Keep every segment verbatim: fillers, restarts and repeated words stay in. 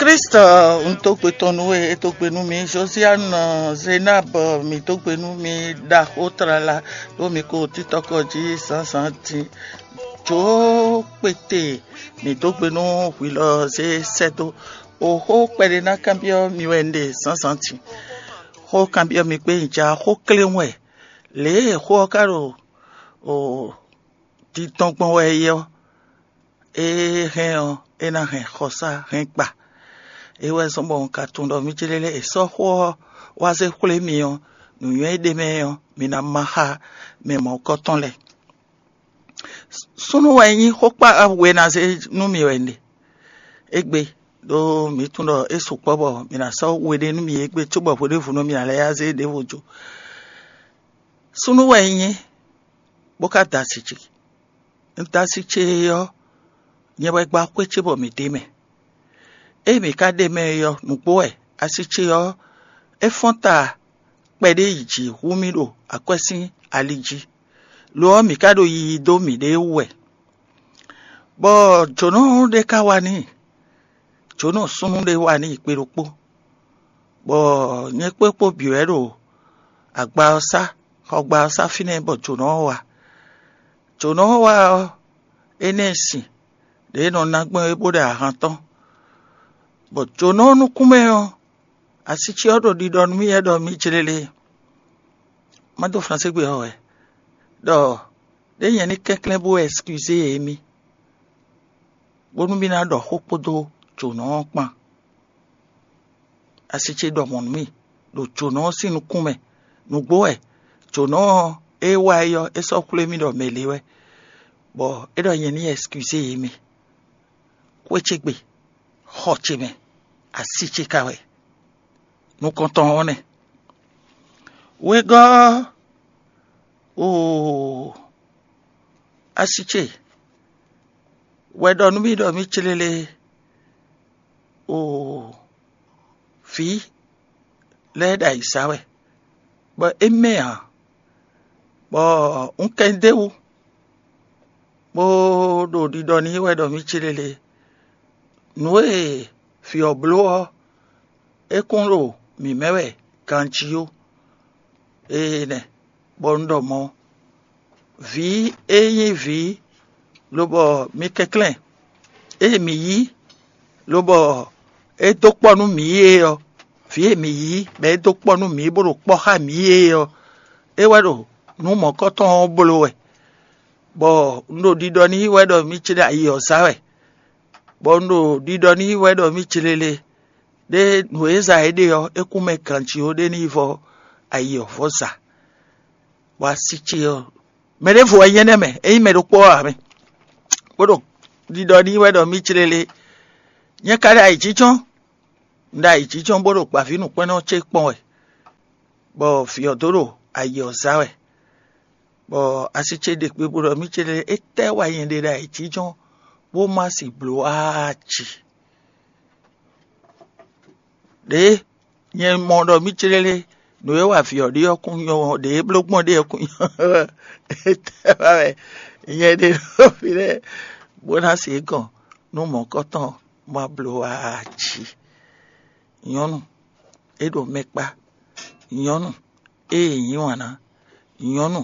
Klísu, un dó gbe tɔn nú we, é dó gbe nú mi. Josiane, Zenab, mi dó gbe nú mi. Ɖaxó tlala ɖó mi ko títɔkɔ jí zǎnzǎn din. Jǒkpete, mi dó gbe nú hwi lɔ zé sɛ́ dó. Oxó kpɛɖé ná kanbyɔ́ mi wɛ un ɖe zǎnzǎn din. Xó kanbyɔ́ mi kpé un ja xó kléwún wɛ. Lě e xó ɔ́ ka ɖo o dindɔn gbɔn wɛ é ɔ́, é hɛn ɔ́, é ná hɛn xɔsá hɛn gba. É wɛ zɔ́n bɔ un ka tunwun ɖɔ mì céɖélé è sɔ́ xó ɔ́ wá zé xwlé mi ɔ́, nǔnywɛ́ e ɖ'é mɛ ɔ́, mi ná má xá mɛ mɔ̌hunkɔtɔn lɛ́ɛ. Súnnu wɛ nyí xókpá we ná zé nú mi wɛ un ɖe. Égbé ɖó mǐ tunwun ɖɔ é sukpɔ́ bɔ mǐ ná sɔ́ we ɖé nú mi égbé cóbɔ hweɖěvunu mǐ ná lɛ́ yá zé ɖěvo jó. Súnnu wɛ nyí bó ka da asi ce. Un da asi ce ɔ́, nyɛ wɛ gba xwé ce bɔ mǐ ɖ'é mɛ. Ée mǐ ka ɖ'é mɛ é ɔ́, nǔgbó wɛ asi ce ɔ́, é fɔ́n ta kpɛɖé yi jǐ hú mì ɖo akwɛ́ sín ali jí. Lo ɔ́, mǐ ka ɖo yiyi dó mǐɖée wú wɛ. Bɔ jǒnɔ ɖé ka wá n'i, jǒnɔ súnnu ɖé wá n'i kpe ɖokpó, bɔ nyɛ kpé kpó bǐ wɛ ɖo agba ɔ́ sá, xɔgba ɔ́ sá fínɛ́ bɔ jǒnɔ ɔ́ wá. Jǒnɔ ɔ́ wá ɔ́, é ná ɛ sin ɖě e nɔ ná gbɔn é bó ɖe ahan tɔn, bɔ jǒnɔ ɔ́ nukún mɛ ɔ́, asi ce ɔ́ ɖo ɖiɖɔ nú mì wɛ ɖɔ mǐ jlélé. Má dó Franségbe ɔ́ wɛ ɖɔ ɖěe nyɛ ní kɛnklɛ́n bó ɛsikizé émí, bónú mì ná ɖɔ xó kpódó jǒnɔ ɔ́ kpán. Asi ce ɖɔ mɔ̌ nú mì ɖo jǒnɔ ɔ́ sín nukún mɛ. Nǔgbó wɛ jǒnɔ ɔ́, é wá é ɔ́, é sɔ́ xwlé mì ɖɔ mɛ lě wɛ, bɔ é ɖɔ nyɛ ní ɛsikizé émí. Xwé ce gbe, xɔ ce mɛ, asi ce ka wɛ. Nukɔntɔn ɔ́ nɛ́. Wegɔ́ ɔ́, oo, asi ce wɛ ɖɔ nú mì ɖɔ mì clélé, oo, vǐ lɛ́ɛ ɖo ayǐ sa wɛ, bɔ é mɛ ǎ, bɔ un kɛ ɖ'é wú, bó ɖo ɖiɖɔ n'i wɛ ɖɔ mì clélé. Nǔ e vǐ ɔ́ bló ɔ́, é kún ɖo mǐ mɛ wɛ ganjí ó. Énɛ́, bɔ un ɖɔ mɔ̌, vǐ e nyí vǐ, lobɔ mi kɛnklɛ́n, ée mǐ yí, lobɔ é dó kpɔ́ nú mǐ é ɔ́, vǐ e mǐ yí, bɔ é dó kpɔ́ nú mǐ, bó ɖo kpɔ́ xá mǐ é ɔ́, é wɛ ɖo nǔ mɔ̌kɔtɔn ɔ́ bló wɛ, bɔ un ɖo ɖiɖɔ n'i wɛ ɖɔ mì ce ɖo ayi ɔ́ zá wɛ, bɔ un ɖo ɖiɖɔ n'i wɛ ɖɔ mì ce lélé, ɖé nǔ e za é ɖe ɔ́, é kún mɛ ganjí ó, ɖé ní yi vɔ ayi ɔ́ vɔ za. Bɔ asi ce ɔ́, mɛ ɖěvo wɛ nyí énɛ́ mɛ, é nyí mɛ ɖokpó ɔ́ ǎ mɛ, bó ɖo ɖiɖɔ n'i wɛ ɖɔ mì ce lélé, nyɛ ka ɖo ayǐjínjɔ́n, un ɖo ayǐjínjɔ́n bó ɖo gbǎvínǔkpɛ́nnɔ ce kpɔ́n wɛ, bɔ vǐ ɔ́ dó ɖo ayi ɔ́ zá wɛ, bɔ asi ce ɖe kpikpo ɖɔ mì ce lé, étɛ́ wɛ nyɛ ɖe ɖo ayǐjínjɔ́n bó má si blǒ aa ci? Ɖěe nyɛ mɔ ɖɔ mì ce lé, nǔ e wa vǐ ɔ́ ɖe ɔ́ kún nyɔ́, ɖě e bló gbɔn ɖe ɔ́ kún nyɔ́. Étɛ́ wɛ nyɛ ɖe ɖo fínɛ́ bó ná se gɔn nú mɔ̌kɔtɔn ma bló aa ci? Nyɔ̌nu, é ɖo mɛ kpá. Nyɔ̌nu, ée nyí wǎn ná, nyɔ̌nu,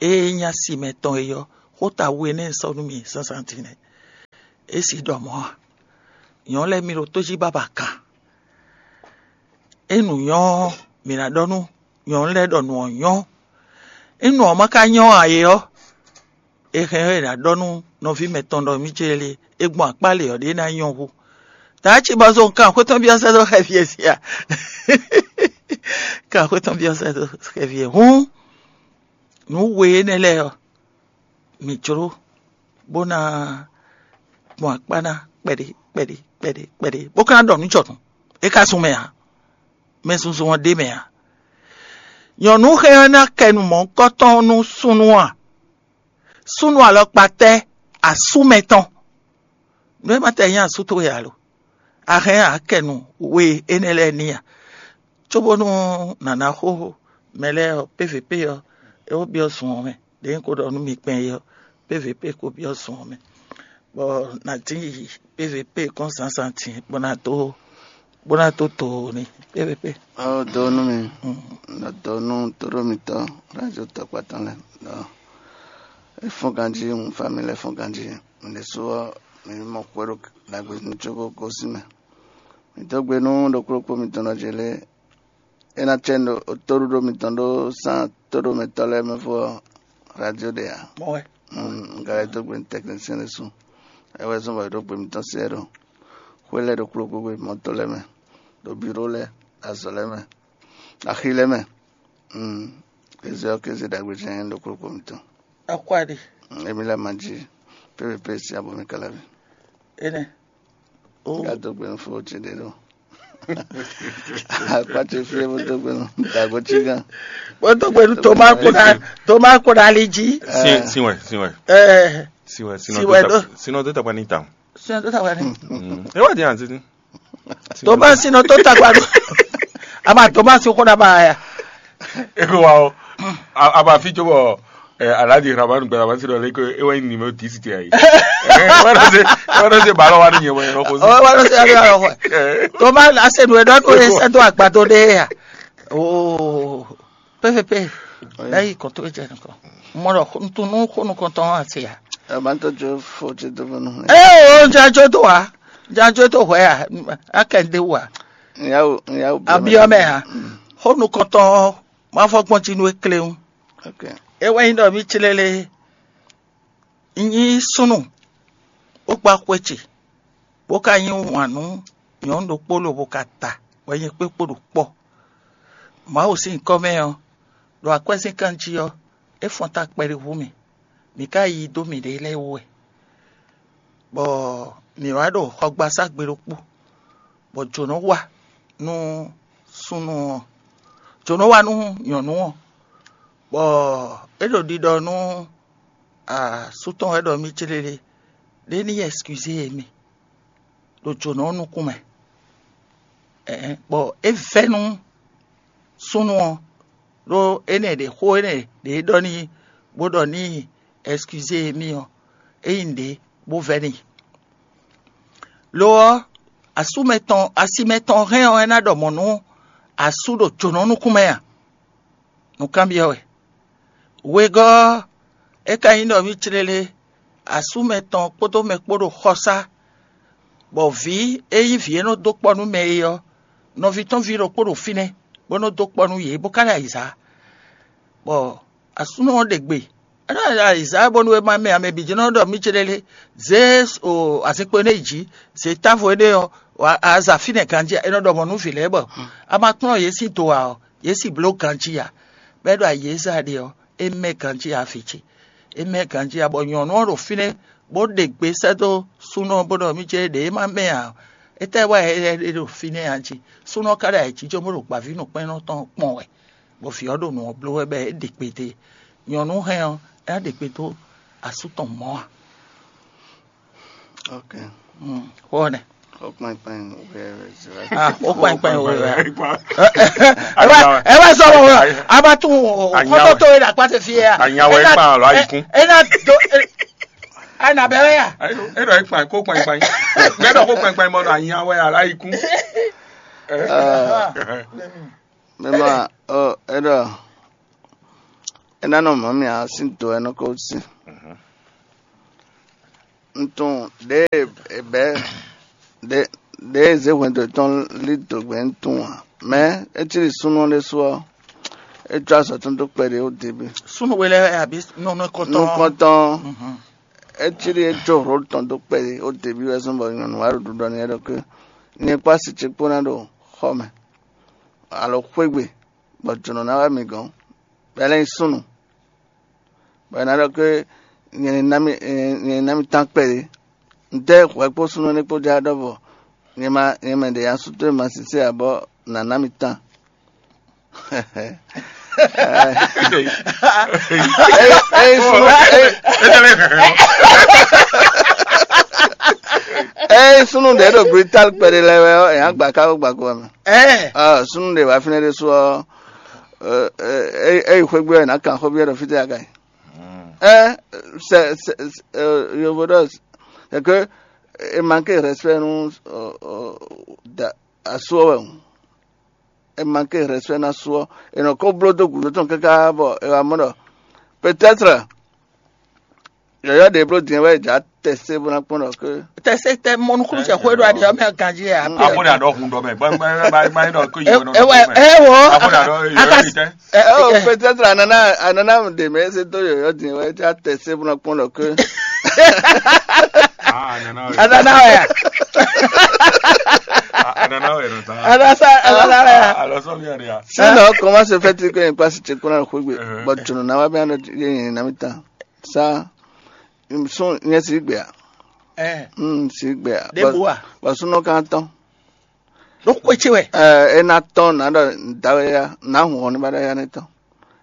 ée nyí asi mɛtɔn é ɔ́, xóta we nɛ́ sɔ́ nú mì zǎnzǎn din nɛ́. É si ɖɔ mɔ̌ a? Nyɔ̌nu lɛ́ɛ mi ɖo tó jí bábà kan. É nǔ nyɔ́ ɔ́, mǐ ná ɖɔ nú nyɔ̌nu lɛ́ɛ ɖɔ nǔ ɔ́ nyɔ́. Ényí nǔ ɔ́ ma ka nyɔ́ ǎ é ɔ́, è hɛn ɔ́ è nǎ ɖɔ nú nɔví mɛtɔn ɖɔ mì ce lé, è gbɔn akpá lě ɔ́ ɖě ná nyɔ́ hú. Taáci bɔ zo kan xwé tɔn byɔ́ sɛ́ dó xɛfí e sia. Kan xwé tɔn byɔ́ sɛ́ dó xɛfí e hǔn, nǔ we énɛ́ lɛ́ɛ ɔ́, mǐ jló bó ná gbɔn akpá ná kpɛɖé kpɛɖé kpɛɖé kpɛɖé, bó ka ná ɖɔ nǔ jɔnǔ. É ka zun mɛ ǎ. Mɛ zunzun ɔ́ ɖ'é mɛ ǎ. Nyɔ̌nu hɛn ɔ́ ná kɛ nǔ mɔ̌hunkɔtɔn nú súnnu a? Súnnu alɔkpa tɛ́? Asú mɛtɔn. Nǔ e ma tɛ nyí asú towe ǎ lo? A hɛn a kɛ nǔ we énɛ́ lɛ́ɛ n'i a? Cóbónú nǎ ná xo mɛ lɛ́ɛ ɔ́, P V P ɔ́, é ko byɔ́ zun ɔ́ mɛ. Ɖě un ko ɖɔ nú mi kpɛn é ɔ́, P V P ko byɔ́ zun ɔ́ mɛ, bɔ nǎ dín yi P V P kɔn zǎnzǎn din bó ná dó bó ná dó do n'i pépépé. Ɔ do nú mi, nɔ do nú tóɖó mitɔn, radio tɔkpatɔn lɛ. Ɔ, é fɔ́n ganjí, un fa mi lɛ fɔ́n ganjí. Mi ɖésú ɔ́, mi mɔ xwé ɖo ɖagbe ní cóbó gosín mɛ. Mi dó gbe nú ɖokpóɖokpó mitɔn nɔ ce lé. É ná cɛ ɖo tóɖuɖo mitɔn ɖó sán tóɖomɛtɔ́ lɛ́ɛ mɛ fó ɔ́, radio ɖe ǎ. Mɔ wɛ. Un ka lɛ́ dó gbe nú tɛknisɛn lɛ́ɛ su. É wɛ zɔ́n bɔ è ɖó gbe mitɔn se ɛ ɖo xwé lɛ́ɛ ɖokpóɖokpó gbe mɔ̌to lɛ́ɛ mɛ, ɖo biro lɛ́ɛ, azɔ̌ lɛ́ɛ mɛ, axi lɛ́ɛ mɛ. Kéze ɔ́, kéze ɖagbe jɛ́n ɖokpóɖokpó mitɔn. Akwáɖi. Émi lɛ́ɛ ma jí pépépé sín abɔ mi káláví. Énɛ́. Ó. Gado gbe fo ce ɖe ɖo. Akpatse fie bó dó gbe nú dago cí gán. Bó dó gbe nú Toma kó ná, Toma kó ná ali jí. Sin, sin wɛ, sin wɛ. Ɛ, Sin wɛ, sin wɛ dó ta, sin wɛ dó ta pa ní ta. Sin wɛ dó ta pa ní. Mm. E wá di an títí. Toma sin nɔ dó ta pa ní. Ama Toma sin kó ná ba ya. E ko wa o. A, a ba fi cóbɔ, eh, Alhaji Rahman Gbadama si ɖɔ lé ko e wɛ nyí numéro dix ti ayi. Eh, wala se, wala se balo wani nyɛ wɛ ko. Oh, wala se ari alo. Toma la se nu e dɔ ko e sɛ do agbado de ya. Oh, P V P. Là yi kɔntɔ e jɛ nukɔ. Mɔ dɔ ntunu xonu kɔntɔ ase ya. Ɛ ban to jo fo ti do bonu. Eh, o ja jo do wa. Ja jo do hwɛ ya. A kɛ de wa. Nyawo, nyawo. Abiɔ mɛ ya. Xonu kɔntɔ ma fɔ gbɔn ti nu e kle. Ok. E wɛ nyí ɖɔ mí clé lé, un nyí súnnu, bó gbá xwé ce, bó ka yí wǎn nú nyɔ̌nu ɖokpó lobo ka ta wɛ nyɛ kpé kpo ɖo kpɔ́. Mawu sín nyǐkɔ mɛ ɔ́, ɖo akwɛ́zínkan jí ɔ́, é fɔ́n ta kpɛɖé hú mì. Mǐ ka yí dó mǐɖée lɛ́ɛ wú wɛ, bɔ mǐ wá ɖo xɔgbasá gbe ɖokpó, bɔ jǒnɔ wá nú súnnu ɔ́, jǒnɔ wá nú nyɔ̌nu ɔ́, bɔ é ɖo ɖiɖɔ nú asú tɔn wɛ ɖɔ mì céɖéɖé, ɖé ní ɛsikizé e mi ɖo jǒnɔ ɔ́ nukún mɛ. Ɛ̌n, bɔ é vɛ́ nú súnnu ɔ́, ɖó énɛ́ ɖě xó énɛ́ ɖě ɖɔ n'i bó ɖɔ n'i ɛsikizé e mi ɔ́, é nyí nǔɖé bó vɛ́ n'i. Lo ɔ́, asú mɛtɔn, asi mɛtɔn hɛn ɔ́, é ná ɖɔ mɔ̌ nú asú ɖo jǒnɔ nukún mɛ a? Nǔkanbyɔ́ wɛ. Wegɔ́ ɔ́, é ka nyí ɖɔ mì clélé, asú mɛtɔn kpódó mɛ kpó ɖo xɔsá, bɔ vǐ e nyí vǐ e nɔ dó kpɔ́ nú mɛ é ɔ́, nɔví tɔn ví ɖokpó ɖo fínɛ́, bó nɔ dó kpɔ́ nú yě, bó ka ɖo ayǐzá. Bɔ asúnɔ ɔ́ ɖe gbe, é nɔ ɖo ayǐzá bónú é má mɛ ame bǐ jɛ́n nɔ ɖɔ mì céɖéɖé, zě o azinkpo énɛ́ yi jǐ, zě távo énɛ́ ɔ́, a za fínɛ́ ganjí, é nɔ ɖɔ mɔ̌ nú vǐ lɛ́ɛ bɔ a ma kplɔ́n yě sín do ǎ ɔ́, yě sì bló ganjí ǎ. Bɔ é ɖo ayǐ e zɛ a ɖe ɔ́, é mɛ ganjí ǎ vǐ ce. É mɛ ganjí ǎ, bɔ nyɔ̌nu ɔ́ ɖo fínɛ́, bó ɖe gbe sɛ́ dó súnɔ ɔ́, bó ɖɔ mì céɖéɖé é má mɛ ǎ ɔ́, étɛ́ wá ɛ é ɖo fínɛ́ a jí? Súnɔ ɔ́ ka ɖo ayǐjínjɔ́n bó ɖo gbǎvínǔkpɛ́nnɔ tɔn kpɔn wɛ. Bɔ vǐ ɔ́ ɖo nǔ ɔ́ bló wɛ bɔ é ɖe kpete. Nyɔ̌nu hɛn ɔ́, é ná ɖe kpete asú tɔn mɔ̌ a? Ok. Xó ɔ́ nɛ́. Xó kpɛnkpɛn wɛ wɛ zɛ wɛ. Ah, xó kpɛnkpɛn wɛ wɛ. Ɛ wá sɔ wɔ a ma tún xɔtɔtɔ yìí la kpase fi yɛ. Anya wɛ kpan lɔ ayikun. E na do. A na bɛ wɛ ya. E dɔ kpan xó kpɛnkpɛn. Mɛ dɔ xó kpɛnkpɛn mɔ dɔ anya wɛ ala ayikun. Mɛ ma ɔ e dɔ e na nɔ mɔ mi a sin to e nɔ ko sin. Ntun ɖe e bɛ ɖe ɖe e zé hwɛndo tɔn li do gbɛ ntun a, mɛ e cí ɖi súnnu ɖé su ɔ́, é có azɔ̌ tɔn dó kpɛɖé ó debí. Súnnu we lɛ abi nɔnɔ kɔtɔn. Nukɔntɔn, é cí ɖi é có rôl tɔn dó kpɛɖé ó debí wɛ zɔn bɔ nyɔ̌nu wá ɖo ɖuɖɔ n'i wɛ ɖɔ ké, nyɛ kpó asi ce kpó ná ɖo xɔ mɛ alo xwé gbe, bɔ jǒnɔ ná wá mi gɔ̌n, bɔ é lɛ́ nyí súnnu. Bɔ è nǎ ɖɔ ké nyɛ ní ná mì nyɛ ní ná mì tán kpɛɖé. Ntɛ́ hwɛ kpó súnnu énɛ́ kpó jlá ɖɔ́vɔ? Nyɛ ma nyɛ mɛ ɖě nya sú towe ma sísé ǎ bɔ nǎ ná mì tán. Eye súnnu eye eye súnnu ɖě ɖo Brital kpɛɖé lɛ́ɛ wɛ ɔ́, è nǎ gba ká wó gba kó wɛ mɛ. Ɛ Ɔ, súnnu ɖě wá fínɛ́ ɖésú ɔ́, ɛ, ɛ, ɛ, ɛ yi xwé gbé ɔ́, è nǎ kan xó byɔ́ ɖɔ fítɛ́ a ka yi? Ɛ, sɛ, sɛ, sɛ, ɛ, yovo ɖɔ, c'est que e manque respect nú, ɔ, ɔ, da, asú ɔ́ wɛ hǔn, è manqué respect ná asú ɔ́, è nɔ ko bló dó gǔdo tɔn káká bɔ è wá mɔ ɖɔ peut-être yɔ̌yɔ́ ɖě bló din wɛ è jǎ tɛsé bó ná kpɔ́n ɖɔ ké. Tɛsé tɛ mɔ nukúnnú cɛ xwé ɖo aɖi ɔ́ mɛ ganjí ɛ. Afɔ ɖe aɖɔ hun dɔ mɛ gbɛgbɛ gbɛgbɛ ɖɔ kó yi wɔ nɔ. Ɛ wɔ. Afɔ ɖe aɖɔ yɔ yi tɛ. Ɛ o, peut-être anana anana ɖe mɛ se dó yɔ̌yɔ́ din wɛ é já tɛsé bó ná kpɔ́n ɖɔ ké. Ah, anana wɛ. Anana wɛ ya. Anana wɛ nɔ ta. Anasa anana wɛ ya. Alɔ sɔ mi ɔdi ya. Sinon, comment se fait-il que une place te kuna xwegbe? Bɔ tunu na wa bɛ anɔ ye yin na mi ta. Sa sun nye si gbe a. Ɛ. Mm, si gbe a. De bu a. Bɔ sunɔ kan tɔn. Ɖo xwé ce wɛ. Ɛ, e na tɔn na ɖɔ dawe ya na hun hɔn ni ba ɖɔ ya ne tɔn.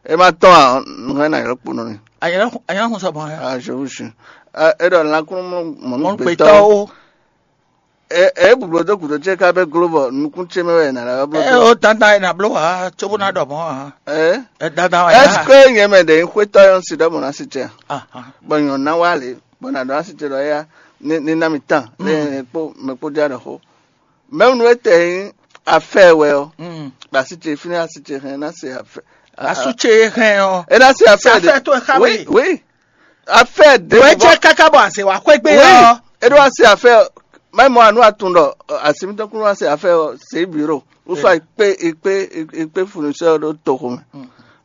E ma tɔn a, nu hɛn na yɔ kpo nɔ ni. Anyana anyana kun sɔ bɔn ya. Ah, je vous jure. Ɛ, e ɖɔ lakunnu mɔnu Mɔnu gbetɔ. Gbetɔwo. E e bublo dó gǔdo ce ká bɛ glo bɔ nukún ce mɛ wɛ na la blo. Ɛ o dandan e na blo wa tsobo na ɖɔ mɔ wa. Ɛ. Ɛ dandan wa. Est-ce que nyɛ mɛ ɖe xwetɔ yɔn si ɖɔ mɔ na si ce? Ah ah. Bɔ nyɔ na wa le bɔ na ɖɔ na si ce ɖɔ ya ni ni na mi tan le kpo mɛ kpo dia ɖɔ xo. Mɛ nu e tɛ yin afɛ wɛ ɔ. Mm. Ba si ce fini asi ce hɛn na se afɛ. Asu ce hɛn ɔ. E na se afɛ de. Afɛ to e xa oui, oui. Affaire de. Wɛ jɛ kaka bɔ ase wa xwegbe ɔ. Oui. Eɖo ase affaire. Mɛ mɔ anu atun ɖɔ asi mi tɔn kunu ase affaire ɔ se bureau. Ou soit ikpe ikpe ikpe fournisseur ɖo toxo mɛ.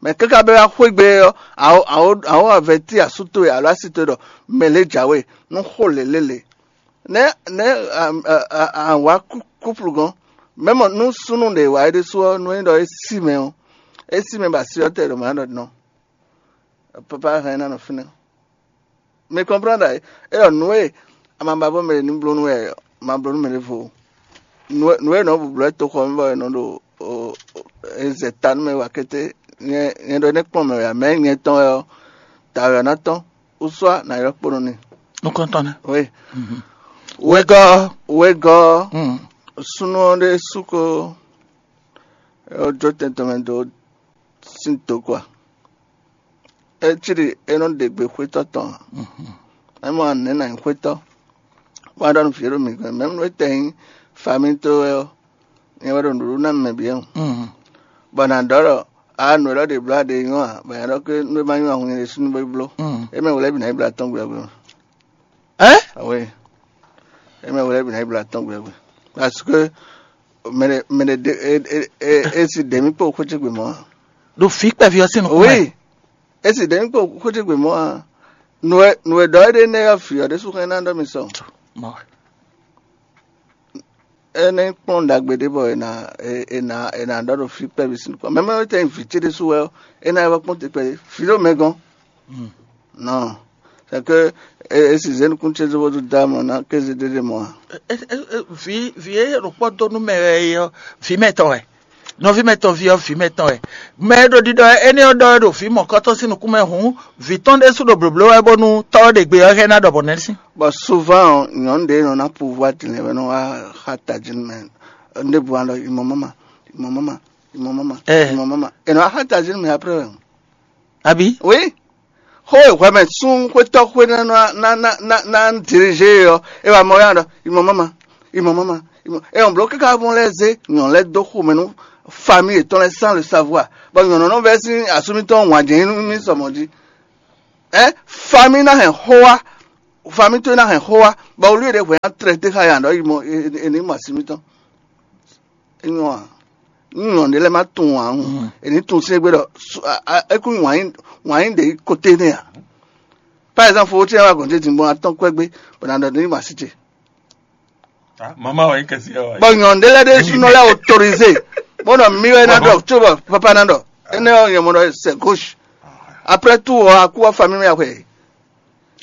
Mɛ kaka bɛ wa xwegbe ɔ awo awo awo avɛti asu to ye alo asi to ye ɖɔ mɛ le jawe nu xo lelele. Nɛ nɛ awa couple gɔn. Mɛ mɔ nu sunu ɖe wa ɖe su ɔ nu e ɖɔ e si mɛ ɔ e si mɛ ba si ɔ tɛ ɖo mɛ ɖɔ nɔ. Papa hɛn na nɔ fínɛ́. Mi kɔnprɔ́n ɖa é ɖɔ nǔ e a ma ba bɔ mɛ ɖě ní bló nú wɛ a ma bló nú mɛ ɖěvo. Nǔ e nɔ bu blɔ̌ toxɔ mɛ bɔ è nɔ ɖo e zɛ ta nú mɛ wa kété. Nyɛ nyɛ ɖɔ é nɛ́ kplɔ́n mɛ wɛ ǎ, mɛ nyɛ tɔn wɛ ɔ́, ta wɛ ɔ́ ná tɔ́n, wúsúá nǎ ylɔ́ kpo nɔ n'i. Nukɔntɔn nɛ́. Oui. Wegɔ́ wegɔ́ súnnu ɔ́ ɖé sú ko jó tɛn tɔn mɛ dó sín toku a? É cí ɖi é nɔ ɖe gbe xwétɔ́ tɔn ǎ. É mɔ nɛ̌ nǎ nyí xwétɔ́? Wá ɖɔ nú vǐ e ɖo mǐ gɔ́n mɛ nú é tɛ nyí famíto wɛ ɔ́, nyɛ wɛ ɖo nǔɖuɖu ná mɛ bǐ ɔ́. Bɔ nǎ ɖɔ ɖɔ a nǔ élɔ́ ɖě bló aɖe nyɔ́ ǎ, bɔ nyɛ ɖɔ ké nú é ma nyɔ́ ǎ, hun nyɛ ɖésú ní bó yi bló. É mɛ wlɛ́ bǐ ná yi bló atɔ́n gbe ɔ́ gbe mɛ. Ɛ? Awe. É mɛ wlɛ́ bǐ ná yi bló atɔ́n gbe ɔ́ gbe. Parce que mɛ ɖe mɛ ɖe ɖe e e e e si ɖě mì kpó xwé ce gbe mɔ̌ ǎ. Ɖo vǐ kpɛví ɔ́ sín nukún mɛ. Oui. E si ɖě mì kpó xwé ce gbe mɔ̌ ǎ. Nǔ e nǔ e ɖɔ é ɖe nɛ́ ɔ́ vǐ ɔ́ ɖésú hɛn ná ɖɔ mi sɔ. Mɔ. É nɛ́ kplɔ́n ɖagbe ɖé bɔ è nǎ è nǎ è nǎ ɖɔ ɖo fí kpɛví sín nukún. Mɛ mɛ tɛn vǐ ce ɖésú wɛ ɔ́, é ná yi wɛ kpɔ́n te kpɛví. Vǐ ɖo mɛ gɔ́n. Non. C'est que e e si zé nukún ce zó bó dó dá mɔ ná kéze ɖé ɖé mɔ ǎ. Vǐ vǐ e ɖo kpɔ́ dó nú mɛ wɛ é ɔ́, vǐ mɛtɔn wɛ. Nɔví mɛtɔn ví ɔ́, vǐ mɛtɔn wɛ. Mɛ e ɖo ɖiɖɔ énɛ́ ɔ́ ɖɔ wɛ ɖo vǐ mɔ̌kɔtɔn sín nukún mɛ hǔn, vǐ tɔn ɖésú ɖo blǒbló wɛ bónú tɔ́ ɔ́ ɖe gbe ɔ́ hɛn ná ɖɔ bɔ nɛ́ sín. Bɔ souvent nyɔ̌nu ɖě nɔ ná pouvoir din lɛ́ɛ wɛ nɔ wá xá tají nú mɛ. Ɖěbǔ wá ɖɔ imɔ mama, imɔ mama, imɔ mama, imɔ mama. È nɔ wá xá tají nú mɛ après wɛ. Abi? Oui. Xó e hwɛmɛ sún xwétɔ́ xwé ná ná ná ná ná dirigé ɔ́, é wá mɔ yá ɖɔ imɔ mama, imɔ mama, imɔ. É ɔn bló káká bɔn lɛ́ zé nyɔ̌nu lɛ́ dó xomɛ nú famille yětɔn lɛ́ɛ sans le savoir. Bɔ nyɔ̌nu nɔ vɛ́ sín asú mítɔn wǎn jɛ́n nú mì sɔmɔ̌ jí. Ɛ famille ná hɛn xó wá, famille towe ná hɛn xó wá, bɔ wlí ɖě hwɛ ná tlɛ té xá yǎ ɖɔ yi mɔ è ní mɔ así mítɔn. É nyɔ́ ǎ. Nú nyɔ̌nu ɖé lɛ́ɛ má tunwun ǎ hǔn, è ní tunwun sín égbé ɖɔ é kún wǎn yí ɖě koté nɛ́ ǎ. Par exemple, fofó ce wá gɔ̌n ce din bɔ atɔ́n kwɛ́ gbé, bɔ ná ɖɔ ní ma sí ce. Mama wɛ nyí kɛsi ɛ wa. Bɔ nyɔ̌nu ɖé lɛ́ɛ ɖé súnɔ lɛ́ɛ autorisé. Bó nɔ mí wɛ ná ɖɔ, tso bɔ papa ná ɖɔ. Énɛ́ ɔ́ nyɛ mɔ ɖɔ c'est gauche. Après tout ɔ́, akú ɔ́ famille mɛ axwɛ.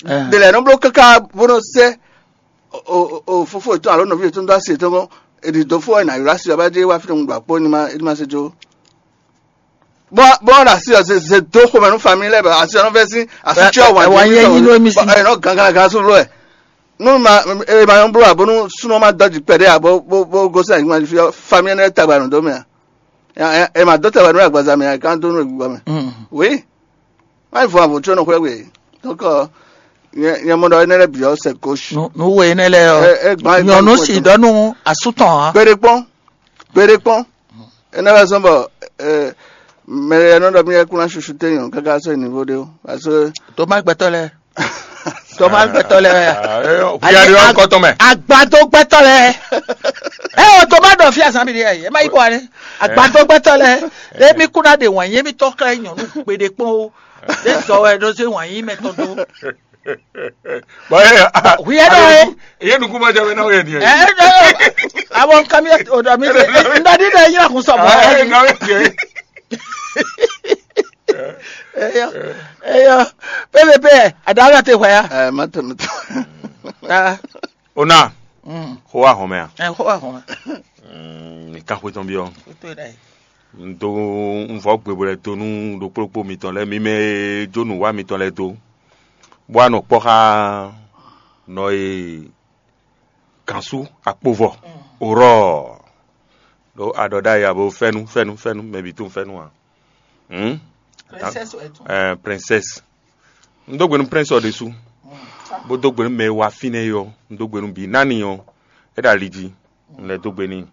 Ɖe lɛ́ɛ nɔ bló káká bó nɔ sɛ́ o fofó yětɔn alo nɔví yětɔn dó asi yětɔn gɔ́n, è ɖi dǒ fó wɛ è nǎ ylɔ́ asi ɔ́ bá jɛ wá fínɛ́ un ɖo akpó ní ma é ní ma se jó. Bɔ bɔ ɔ́ ɖo asi ɔ́ zeze dó xomɛ nú famille lɛ́ɛ bɔ asi ɔ́ nɔ vɛ́ sín asú cyɔ wǎn jí mí sɔ ɛ nɔ gangan gan sú bló wɛ. Nú ma è ma nyɔ́ bló ǎ bónú súnnu ɔ́ ma dɔ́ jǐ kpɛɖé ǎ bó bó bó gosín anyǐkún jí fí ɔ́, famille énɛ́ tagba nǔ dó mɛ ǎ. È ma dó tagba nú agbaza mɛ ǎ, é ka dó nú gbígbɔ mɛ. Oui. Má yi vɔ avɔ tso nɔ xwlɛ́ we. Donc nyɛ mɔ ɖɔ énɛ́ lɛ́ɛ bǐ ɔ́ c'est gauche. Nú we énɛ́ lɛ́ɛ ɔ́, nyɔ̌nu sì ɖɔ nú asú tɔn ǎ. Kpeɖé kpɔ́n. Kpeɖé kpɔ́n. Énɛ́ wɛ zɔ́n bɔ mɛ e nɔ ɖɔ mì wɛ kún ná susu téyɔn káká sɔ́ yi nǐvo ɖé ó. Parce que Toma gbɛtɔ́ lɛ́ɛ. Toma gbɛtɔ́ lɛ́ɛ wɛ ya. Hwiya ɖe ɔ́ kɔtɔn mɛ. Agbadó gbɛtɔ́ lɛ́ɛ. Ɛ o Toma ɖɔ fí azán mi ɖe ɛ ma yi bɔ wani. Agbadó gbɛtɔ́ lɛ́ɛ. Emi kún ná ɖe wǎn yé mi tɔ́ xlɛ́ nyɔ̌nu gbeɖé kpɔ́n ó. Ɖé zɔ wɛ ɖó zé wǎn yí mɛ tɔn dó. Bɔn ye Hwi yɛ ɖɔ ye. Ye nukun ma jɛ bɛ na o yɛ diɛ. Ɛ ɛ ɛ. Awɔ nka mi o ɖɔ mi ɖe. N ɖɔ ɖi ɖe yín akun sɔ mɔ. Ɛ na o yɛ diɛ. Eyɔ eyɔ. Pépépé. Aɖaŋa te hwɛ ya. Ɛ ma tɛ mi tɔ. Ah. Ona. Mm. Xó wa hɔn mɛ a? Ɛ xó wa hɔn mɛ. Mm, ní kan xwé tɔn byɔ́. Xwé tó yɛ ɖa yi. Un dó un vɔ gbe bɔ lɛ dó nú ɖokplókpó mitɔn lɛ́ɛ, mi mɛ e jó nǔ wa mitɔn lɛ́ɛ dó, bó wá nɔ kpɔ́ xá nɔ e gǎnsú akpovɔ, orɔ ɖó aɖɔ ɖ'ayǐ abo fɛ́nú fɛ́nú fɛ́nú mɛ bǐ tunwun fɛ́nú ǎ. Hǔn Princesse wɛ tún. Ɛɛ, princesse. Un dó gbe nú prince ɔ́ ɖésú, bó dó gbe nú mɛ e wá fínɛ́ é ɔ́, un dó gbe nú bǐ. Nani ɔ́, é ɖo ali jí, un lɛ́ dó gbe n'i.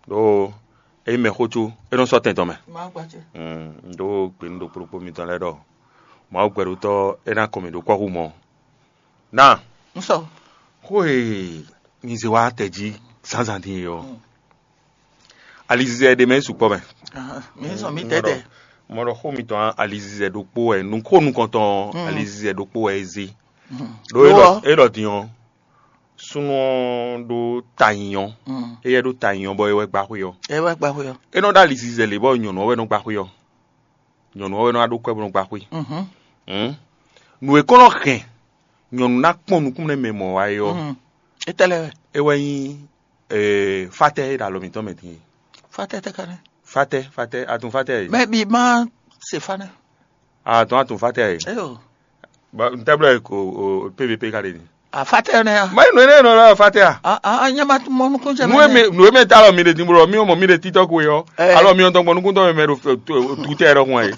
Ɖó é nyí mɛxó có, é nɔ sɔ́ tɛn tɔn mɛ. Má gba ce. Un dó gbe nú ɖokpó ɖokpó mitɔn lɛ́ɛ ɖɔ Mawu gbɛɖotɔ́ é ná kɔn mì ɖó kɔ́xo mɔ. Ná Un sɔ. Xó e mi zé wá tɛ jí zǎnzǎn din é ɔ́, alizizɛ ɖé mɛ é sukpɔ́ mɛ. Ahan, mi sɔ mi tɛtɛ. Mɔ ɖɔ xó mitɔn alizizɛ ɖokpó wɛ, nukó nukɔntɔn alizizɛ ɖokpó wɛ é zé. Ɖó é ɖɔ é ɖɔ din ɔ́, súnnu ɔ́ ɖó ta nyi ɔ́, éyɛ́ ɖó ta nyi ɔ́ bɔ é wɛ gbá xwé ɔ́. É wɛ gba xwé ɔ́. É nɔ ɖó alizizɛ lě bɔ nyɔ̌nu ɔ́ wɛ nɔ gbá xwé ɔ́. Nyɔ̌nu ɔ́ wɛ nɔ wá ɖó kwɛ́ bó nɔ gbá xwé. Hǔn nǔ e kɔn nɔ hɛn nyɔ̌nu ná kpɔn nukúnnú nɛ́ mɛ mɔ̌ wá é ɔ́, Étɛ́ lɛ́ɛ wɛ. É wɛ nyí fatɛ́ e ɖo alɔ mǐtɔn mɛ din é. Fatɛ́ tɛ ka nɛ́. Fatɛ́ fatɛ́ atun fatɛ́ é. Mɛ bi ma se fa nɛ́. Atun atun fatɛ́ é. Eyo. Ntɛ́blɛ ko P V P ka ɖe ni. Afatɛ nɛ ya. Mayi nɔ ene nɔ la fatɛ a. Ah, ah, nyɛ ma mɔ nukun jɛ. Nue mi nue mi ta lɔ mi de dimbo lɔ mi mɔ mi de titɔ ko yɔ. Alɔ mi tɔn gbɔ nukun tɔ mi mɛ do tutɛ yɛrɛ kun ayi.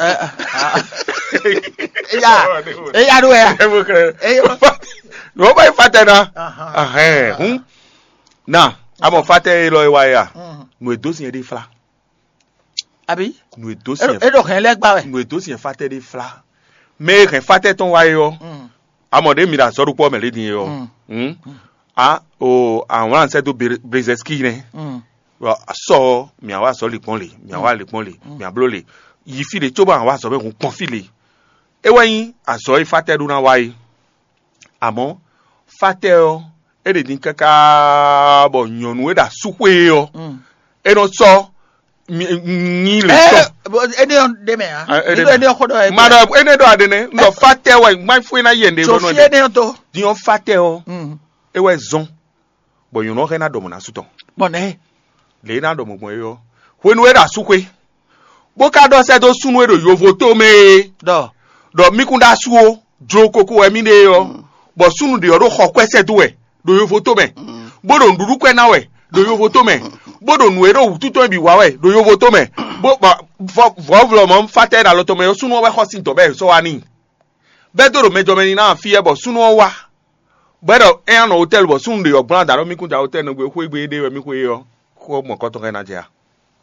Eya eya do ya. Eya. Nɔ ba yi fatɛ na. Ahɛn hun. Na amɔ fatɛ yi lɔ yi wa ya. Nue do si yɛ de fla. Abi. Nue do si yɛ. E do hɛn lɛ gba wɛ. Nue do si yɛ fatɛ de fla. Mɛ e hɛn fatɛ tɔn wa yi ɔ. Amɔ ɖe mi ɖo azɔ̌ ɖokpó ɔ́ mɛ lě din é ɔ́, hǔn a o awlán sɛ́ dó Brezɛskí nɛ́. Bɔ sɔ ɔ́, mǐ wá azɔ̌ lě gbɔn lě, mǐ wá lě gbɔn lě, mǐ bló lě, yi fí lě cóbɔ a wá azɔ̌ mɛ hun gbɔn fí lě. É wɛ nyí azɔ̌ e fátɛ́ ɖó ná wa é. Amɔ̌, fátɛ́ ɔ́, é ɖe din káká bɔ nyɔ̌nu e ɖo asúxwé é ɔ́, é nɔ sɔ́ nyi lě tɔn. Énɛ́ ɔ́ ɖ'é mɛ ǎ. Énɛ́ ɔ́ xó ɖɔ wɛ. Ma ɖɔ énɛ́ ɖɔ aɖe nɛ́, un ɖɔ fatɛ wɛ, ma fún ná yɛ ɖe. Sofi énɛ́ ɔ́ tó. Din ɔ́ fatɛ ɔ́, é wɛ zɔn, bɔ nyɔ̌nu ɔ́ xɛ ná ɖɔ mɔ̌ ná sú tɔn. Bɔn nɛ́. Lě e ná ɖɔ mɔ̌ gbɔn é ɔ́, hwenu e ɖo asúxwé, bó ka ɖɔ sɛ́ dó súnnu e ɖo yovo tó mɛ é ɖɔ ɖɔ mí kún ɖó asú ó, jló koko wɛ mí ɖe é ɔ́, bɔ súnnu ɖě ɔ́ ɖo xɔ kwɛ́ sɛ́ dó wɛ ɖo yovo tó mɛ, bó ɖo nǔɖuɖu kwɛ́ ná wɛ ɖo yovo tó mɛ, bó ɖo nǔ e ɖo wǔtu tɔn bǐ wa wɛ ɖo yovo tó mɛ, bó vɔvlɔ mɔ̌ fatɛ ɖo alɔ tɔn mɛ ɔ́, súnnu ɔ́ wɛ xɔ sín dɔ̌ bɔ è sɔ́ wá n'i. Bɛ́ dó ɖo mɛjɔmɛ ní ná fí wɛ bɔ súnnu ɔ́ wá, bɔ é ɖɔ é ná nɔ hotɛ́lu bɔ súnnu ɖě ɔ́ gblán adǎ ɖɔ mí kún da hotɛ́lu nɛgbé xwé gbe éɖée wɛ mí xwe é ɔ́, xó mɔ̌kɔtɔn ka ná jɛ a?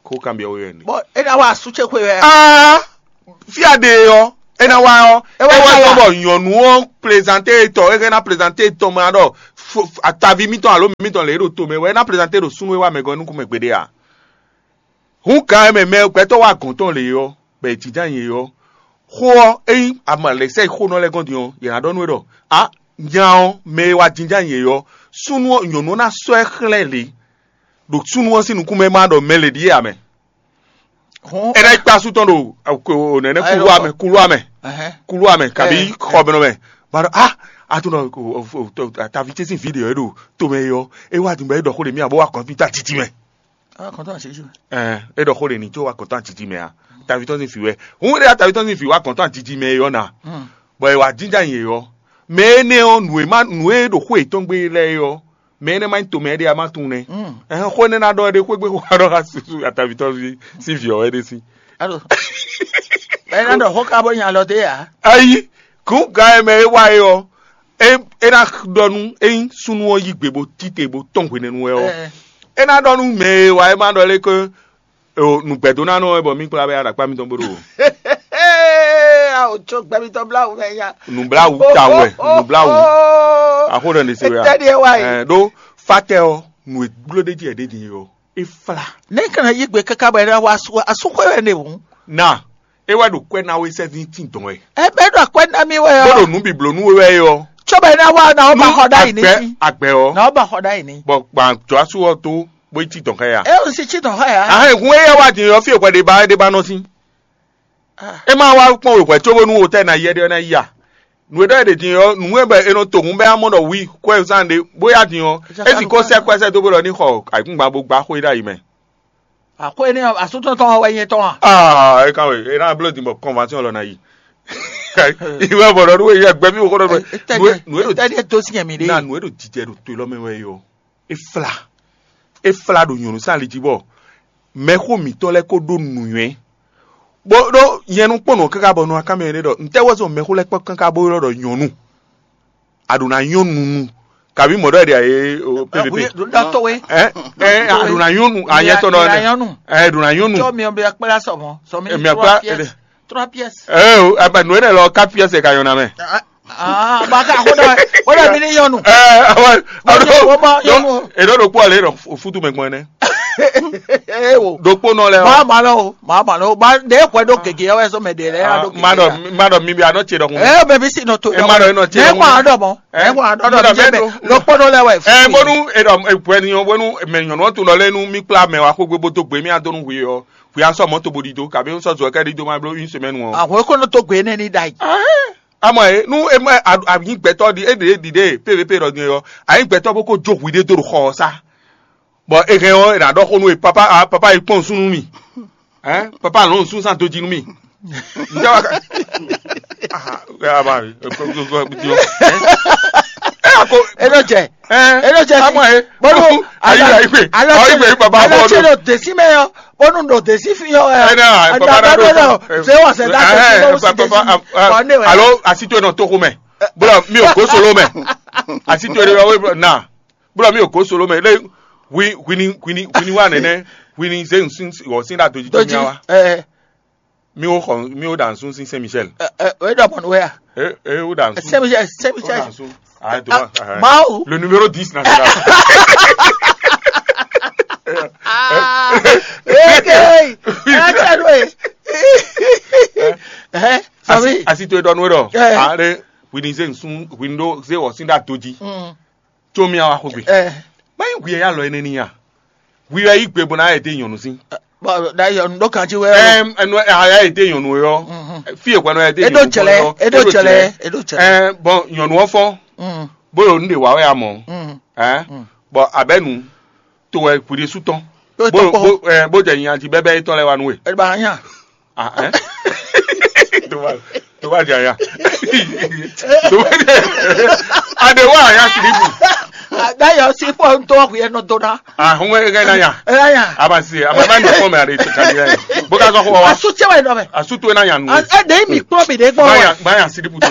Xó kanbyɔ́ we wɛ ní. Bɔ é ná wa asú ce xwe wɛ. Aa, fí a ɖe é ɔ́, é ná wá ɔ́, é wá sɔ́ bɔ nyɔ̌nu ɔ́ plezante tɔ, é hɛn ná plezante tɔn mɛ ɖɔ ataví mítɔn alo mítɔn lě e ɖo to mɛ wɛ é ná plezante ɖo súnnu e wá mɛ gɔ́ nukún mɛ gbeɖé a? Hǔn gǎn e mɛ mɛ gbɛtɔ́ wá gɔ̌n tɔn lě ɔ́, bɔ è jínjɔ́n ayǐ é ɔ́, xó ɔ́, ényí a ma lɛ̌ sɛ́ yi xónɔ lɛ́ɛ gɔ́n din ɔ́, yě ná ɖɔ nú we ɖɔ: "Á, nya ɔ́, mɛ e wá jínjɔ́n ayǐ é ɔ́, súnnu ɔ́, nyɔ̌nu ɔ́ ná sɔ́ ɛ xlɛ́ lě, ɖo súnnu ɔ́ sín nukún mɛ ma ɖɔ mɛ lě ɖíe ǎ mɛ." Hɔn É ná yi kpé asú tɔn ɖo nɛnɛ kuluwa mɛ, kuluwa mɛ, kuluwa mɛ, kabi xɔmɛnɔ mɛ. Ma ɖɔ: "Á, a tún nɔ taví ce sín vǐ ɖě ɔ́, é ɖo tomɛ é ɔ́, é wá din bɔ é ɖɔ xó ɖě mì abo wá kɔn fí ta titi mɛ." Awa kɔntɔn asisi mɛ. Ɛɛ, é ɖɔ xó ɖě ní tso wá kɔntɔn atiti mɛ a? Taví tɔn sín vǐ wɛ. Hǔn ɖé taví tɔn sín vǐ wá kɔntɔn atiti mɛ é ɔ́ na. Bɔ è wá jínjɔ́n ayǐ é ɔ́, mɛ énɛ́ ɔ́, nǔ e má nǔ e ɖo xó yětɔn gbe lɛ́ɛ é ɔ́, mɛ énɛ́ má nyí tomɛ ɖé a má tunwun nɛ́. Ɛhɛn, xó énɛ́ ná ɖɔ é ɖé xwé gbe xó ná ɖɔ xá susu ataví tɔn sín vǐ ɔ́ wɛ ɖé sí. Alo. Bɛ́ ná ɖɔ xó ka bó nya alɔ dé ǎ. Ayi, kún gǎn e mɛ é wá é ɔ́, é é ná ɖɔ nú ényí súnnu ɔ́ yí gbe bó tite bó tɔn hwenɛ́nu wɛ ɔ́, é ná ɖɔ nú mɛ e wá é má ɖɔ lé ké O nǔgbɛdónánɔ wɛ bɔ mí kplá bɛ aɖakpá mitɔn bó ɖo. Awo tso gbɛmitɔ blawu mɛ nya. Nǔbláwu ta wɛ, nǔbláwu. Axó ɖɔ ní se wɛ. Tɛɖi wá yi. Ɛ ɖó fatɛ ɔ, nǔ e gbló ɖé jí ɛ ɖé din ɔ, é flá. Ne kana yi gbe kaka bɔ ɛna wa asu asu xwe wɛ ne wu. Na, é wɛ ɖo kwɛ na we sɛ ní tin dɔn wɛ. Ɛ bɛ ɖo akwɛ na mi wɛ. Bó ɖo nǔ biblo nú we wɛ ɔ. Tso bɛ na wa na o ba xɔ ɖa yi ní. Agbɛ ɔ. Na o ba xɔ ɖa yi ní. Bɔ gbàjɔ asu ɔ tó bó yi tin dɔn xɛ ya. E o si tsi dɔn xɔ ya. Ahɛn hun e yɛ wá din ɔ fi hwɛ ɖe ba ɖe ba nɔ sín. E ma wá kpɔn wěhwɛ cóbónú wotɛ́ ná yɛ ɖé ɔ́ ná yi a? Nǔ e ɖɔ è ɖe din ɔ́, nǔ e bɔ è nɔ to hǔn bɛ́ amɔ́ ɖɔ wi kwɛ́zán ɖé bó yá din ɔ́, é sixú sɛ́ kwɛ́ sɛ́ dó bó ɖɔ ní xɔ ayǐkúngban bó gbá xwé ɖ'ayǐ mɛ. Àxwé ní asútɔ́ tɔn wɛ nyɛ tɔn a? Aa, é kan wɛ, é ná bló din bɔ kɔnvansyɔn lɔ ná yi. Ìwé bɔ̀dọ̀ nú wéyí ẹgbẹ́ mi wò kó dɔ̀dọ̀. Nú é dò tɛ́díɛ tó sí ẹ̀mí ɖé. Na nú é dò jijɛ ɖo to élɔ́ mɛ wɛ yɔ. É flá. É flá ɖo nyɔ̌nu sín ali jí bɔ mɛxó mǐtɔn lɛ́ɛ kó ɖó nǔnywɛ́. Bó ɖó nyɛ nú kpɔ́n nǔ ɔ́ káká bɔ nɔ aká mɛ ɖé ɖɔ ntɛ́ wɛ zɔn mɛxó lɛ́ɛ kpɔ́n káká bó ylɔ́ ɖɔ nyɔ̌nu. A ɖǒ ná nyɔ́ nunu. Kabi mɔ̌ ɖɔ ɖe ɛ o pvp. Ɖo dɔ to we. Ɛ ɛ a ɖǒ ná nyɔ́ nu a nyɛ tɔn ɖɔ. Ɛ ɖǒ ná nyɔ́ nu. Tsɔ mi ɔbɛ kpla sɔmɔ sɔmi. Ɛ mi akpla. Trois pièces. Ɛ o ɛ bɛ nǔ énɛ́ lɔ quatre pièces ka nyɔ́ ná mɛ. Ah, ba ka ko dɔ ko dɔ mi ni nyɔ́ nu. Ɛ awɔ. Wọ́n bá yọnu. Èdè ɖokpó ɔlẹ́ ɖɔ futu mɛ gbɔn ɛnɛ. Ewo. Ɖokpónɔ lɛ o. Maa ma lɔ o, maa ma lɔ o, ba ɖe xɔ ɖo gege wɛ sɔ mɛ ɖe lɛ ya ɖo gege. Ma ɖɔ ma ɖɔ mi bi anɔ tse ɖɔkun. Ɛ bɛ bi si nɔ to. Ɛ ma ɖɔ enɔ tse ɖɔkun. Nɛ kɔ adɔ mɔ, nɛ kɔ adɔ dɔ mi jɛ mɛ, ɖokpónɔ lɛ wɛ. Ɛ bónú eɖɔ egbɛni ɔ bónú mɛ nyɔnu ɔtun lɔ lɛ nu mi kpla mɛ wa xogbe bó dó gbe mi adó nu hui ɔ, hui asɔ mɔ to bo ɖi do kabi sɔ zɔ kɛ ɖi do ma blo une semaine ɔ. Àwọn kò ní tó gbé ní ní da yìí. Amɔ e nu e ma anyi gbɛtɔ ɖi e ɖe ɖi ɖe pvp ɖɔ din yɔ anyi gbɛtɔ bó kó jó hui ɖé dó ɖo xɔ ɔ sá. Bɔ e hɛn ɔ́, è nǎ ɖɔ xó nú we, papa, ah, papa yi kpɔ́n nǔsú nú mì. Hɛn papa lɔn nǔsú zan do jí nú mì. Ǹjẹ́ wàá ká? Ah, ah, ah, eh, ko, ko, ko, ko, eh? Eh, ako, Eɖo jɛ. Eh, Eɖo jɛ. Amɔ, eh, Bɔlu, ayi, ayi, gbe, ayi, gbe, baba, alo bɔlu. Tse ɖo desi mɛ yɔ, bɔnu ɖo desi fi yɔ, eh, Eh, na, eh, papa, na, na, na, na, na, eh, se wɔ se da eh, desi eh, bɔlu si papa, desi. Ah, ah, Bɔ ne wɛ. Alo, asi to nɔ toxo mɛ. Bro, mi ò gosolo mɛ. Asi to nɔ na. Bro, mi ò gosolo mɛ. Le, wi, wini, wini, wini wa nɛnɛ. Wini ze nsun, wɔ sin da doji to Doji. Mi wa. Eh, Mi wo xɔ mi wo ɖa nsun sin Saint Michel. Eh, eh, eh, ɖɔ mɔnu wɛ ya? Eh, eh, wo ɖa nsun. Saint Michel, Saint Wo Michel. Ɖa nsun. Ah, to Ah, ba. Ah, Mawu. Le numéro dix national. Ah, eh, eh, eh, eh, eh, eh, Asi asi to e ɖɔ nú we ɖɔ. Eh. Ah, le wini ze nsun wini ɖo ze wɔ sin ɖa doji. Mm. Tso mía wá xógbe. Ɛ. Má nyí hwi e alɔ énɛ́ n'i a? Hwi wɛ yí gbe bó ná yɛ dé nyɔ̌nu sín. Bɔn ɖayɔ nu ɖó kan jí wɛ. Ɛm, ɛnu aya yɛ dé nyɔ̌nu yɔ. Mhm. Fi e hwɛnu yɛ dé Eɖo nyɔ̌nu jɛlɛ, fɔ yɔ. Eɖo jɛlɛ, eɖo jɛlɛ. Ɛm, bɔn nyɔ̌nu ɔ fɔ. Mm, Bó ɖo nu ɖe wá wɛ a mɔ. Mm. Ɛ. Mm. Bɔn abɛnu to wɛ hwi ɖésú tɔn. Yóò Bó tɔkpɔ. Bó ɛ bó jɛ nyanji bɛbɛ yetɔn lɛ wa nú we. Ɛ ba nya. Ah, hein? Tó bá tó bá jẹ aya. Tó bá jẹ aya. Adé wá aya silibu. Dayọ̀ sí pọ̀ ń tọ́ ọ̀hún yẹn nọ tó ná. Ah, hún ẹ gẹ́gẹ́ náà yà. Ẹ yà. A ma se, a ma bá ní fún mi àrè tó kàdé yẹn. Bó ká sọ fún wa. Asu tiẹ̀ wẹ̀ nọ mẹ́. Asu tó náà yà nù. Ẹ dẹ́ mi kpọ́ mi dé gbọ́ Báyà wa. Báyà silibu tó.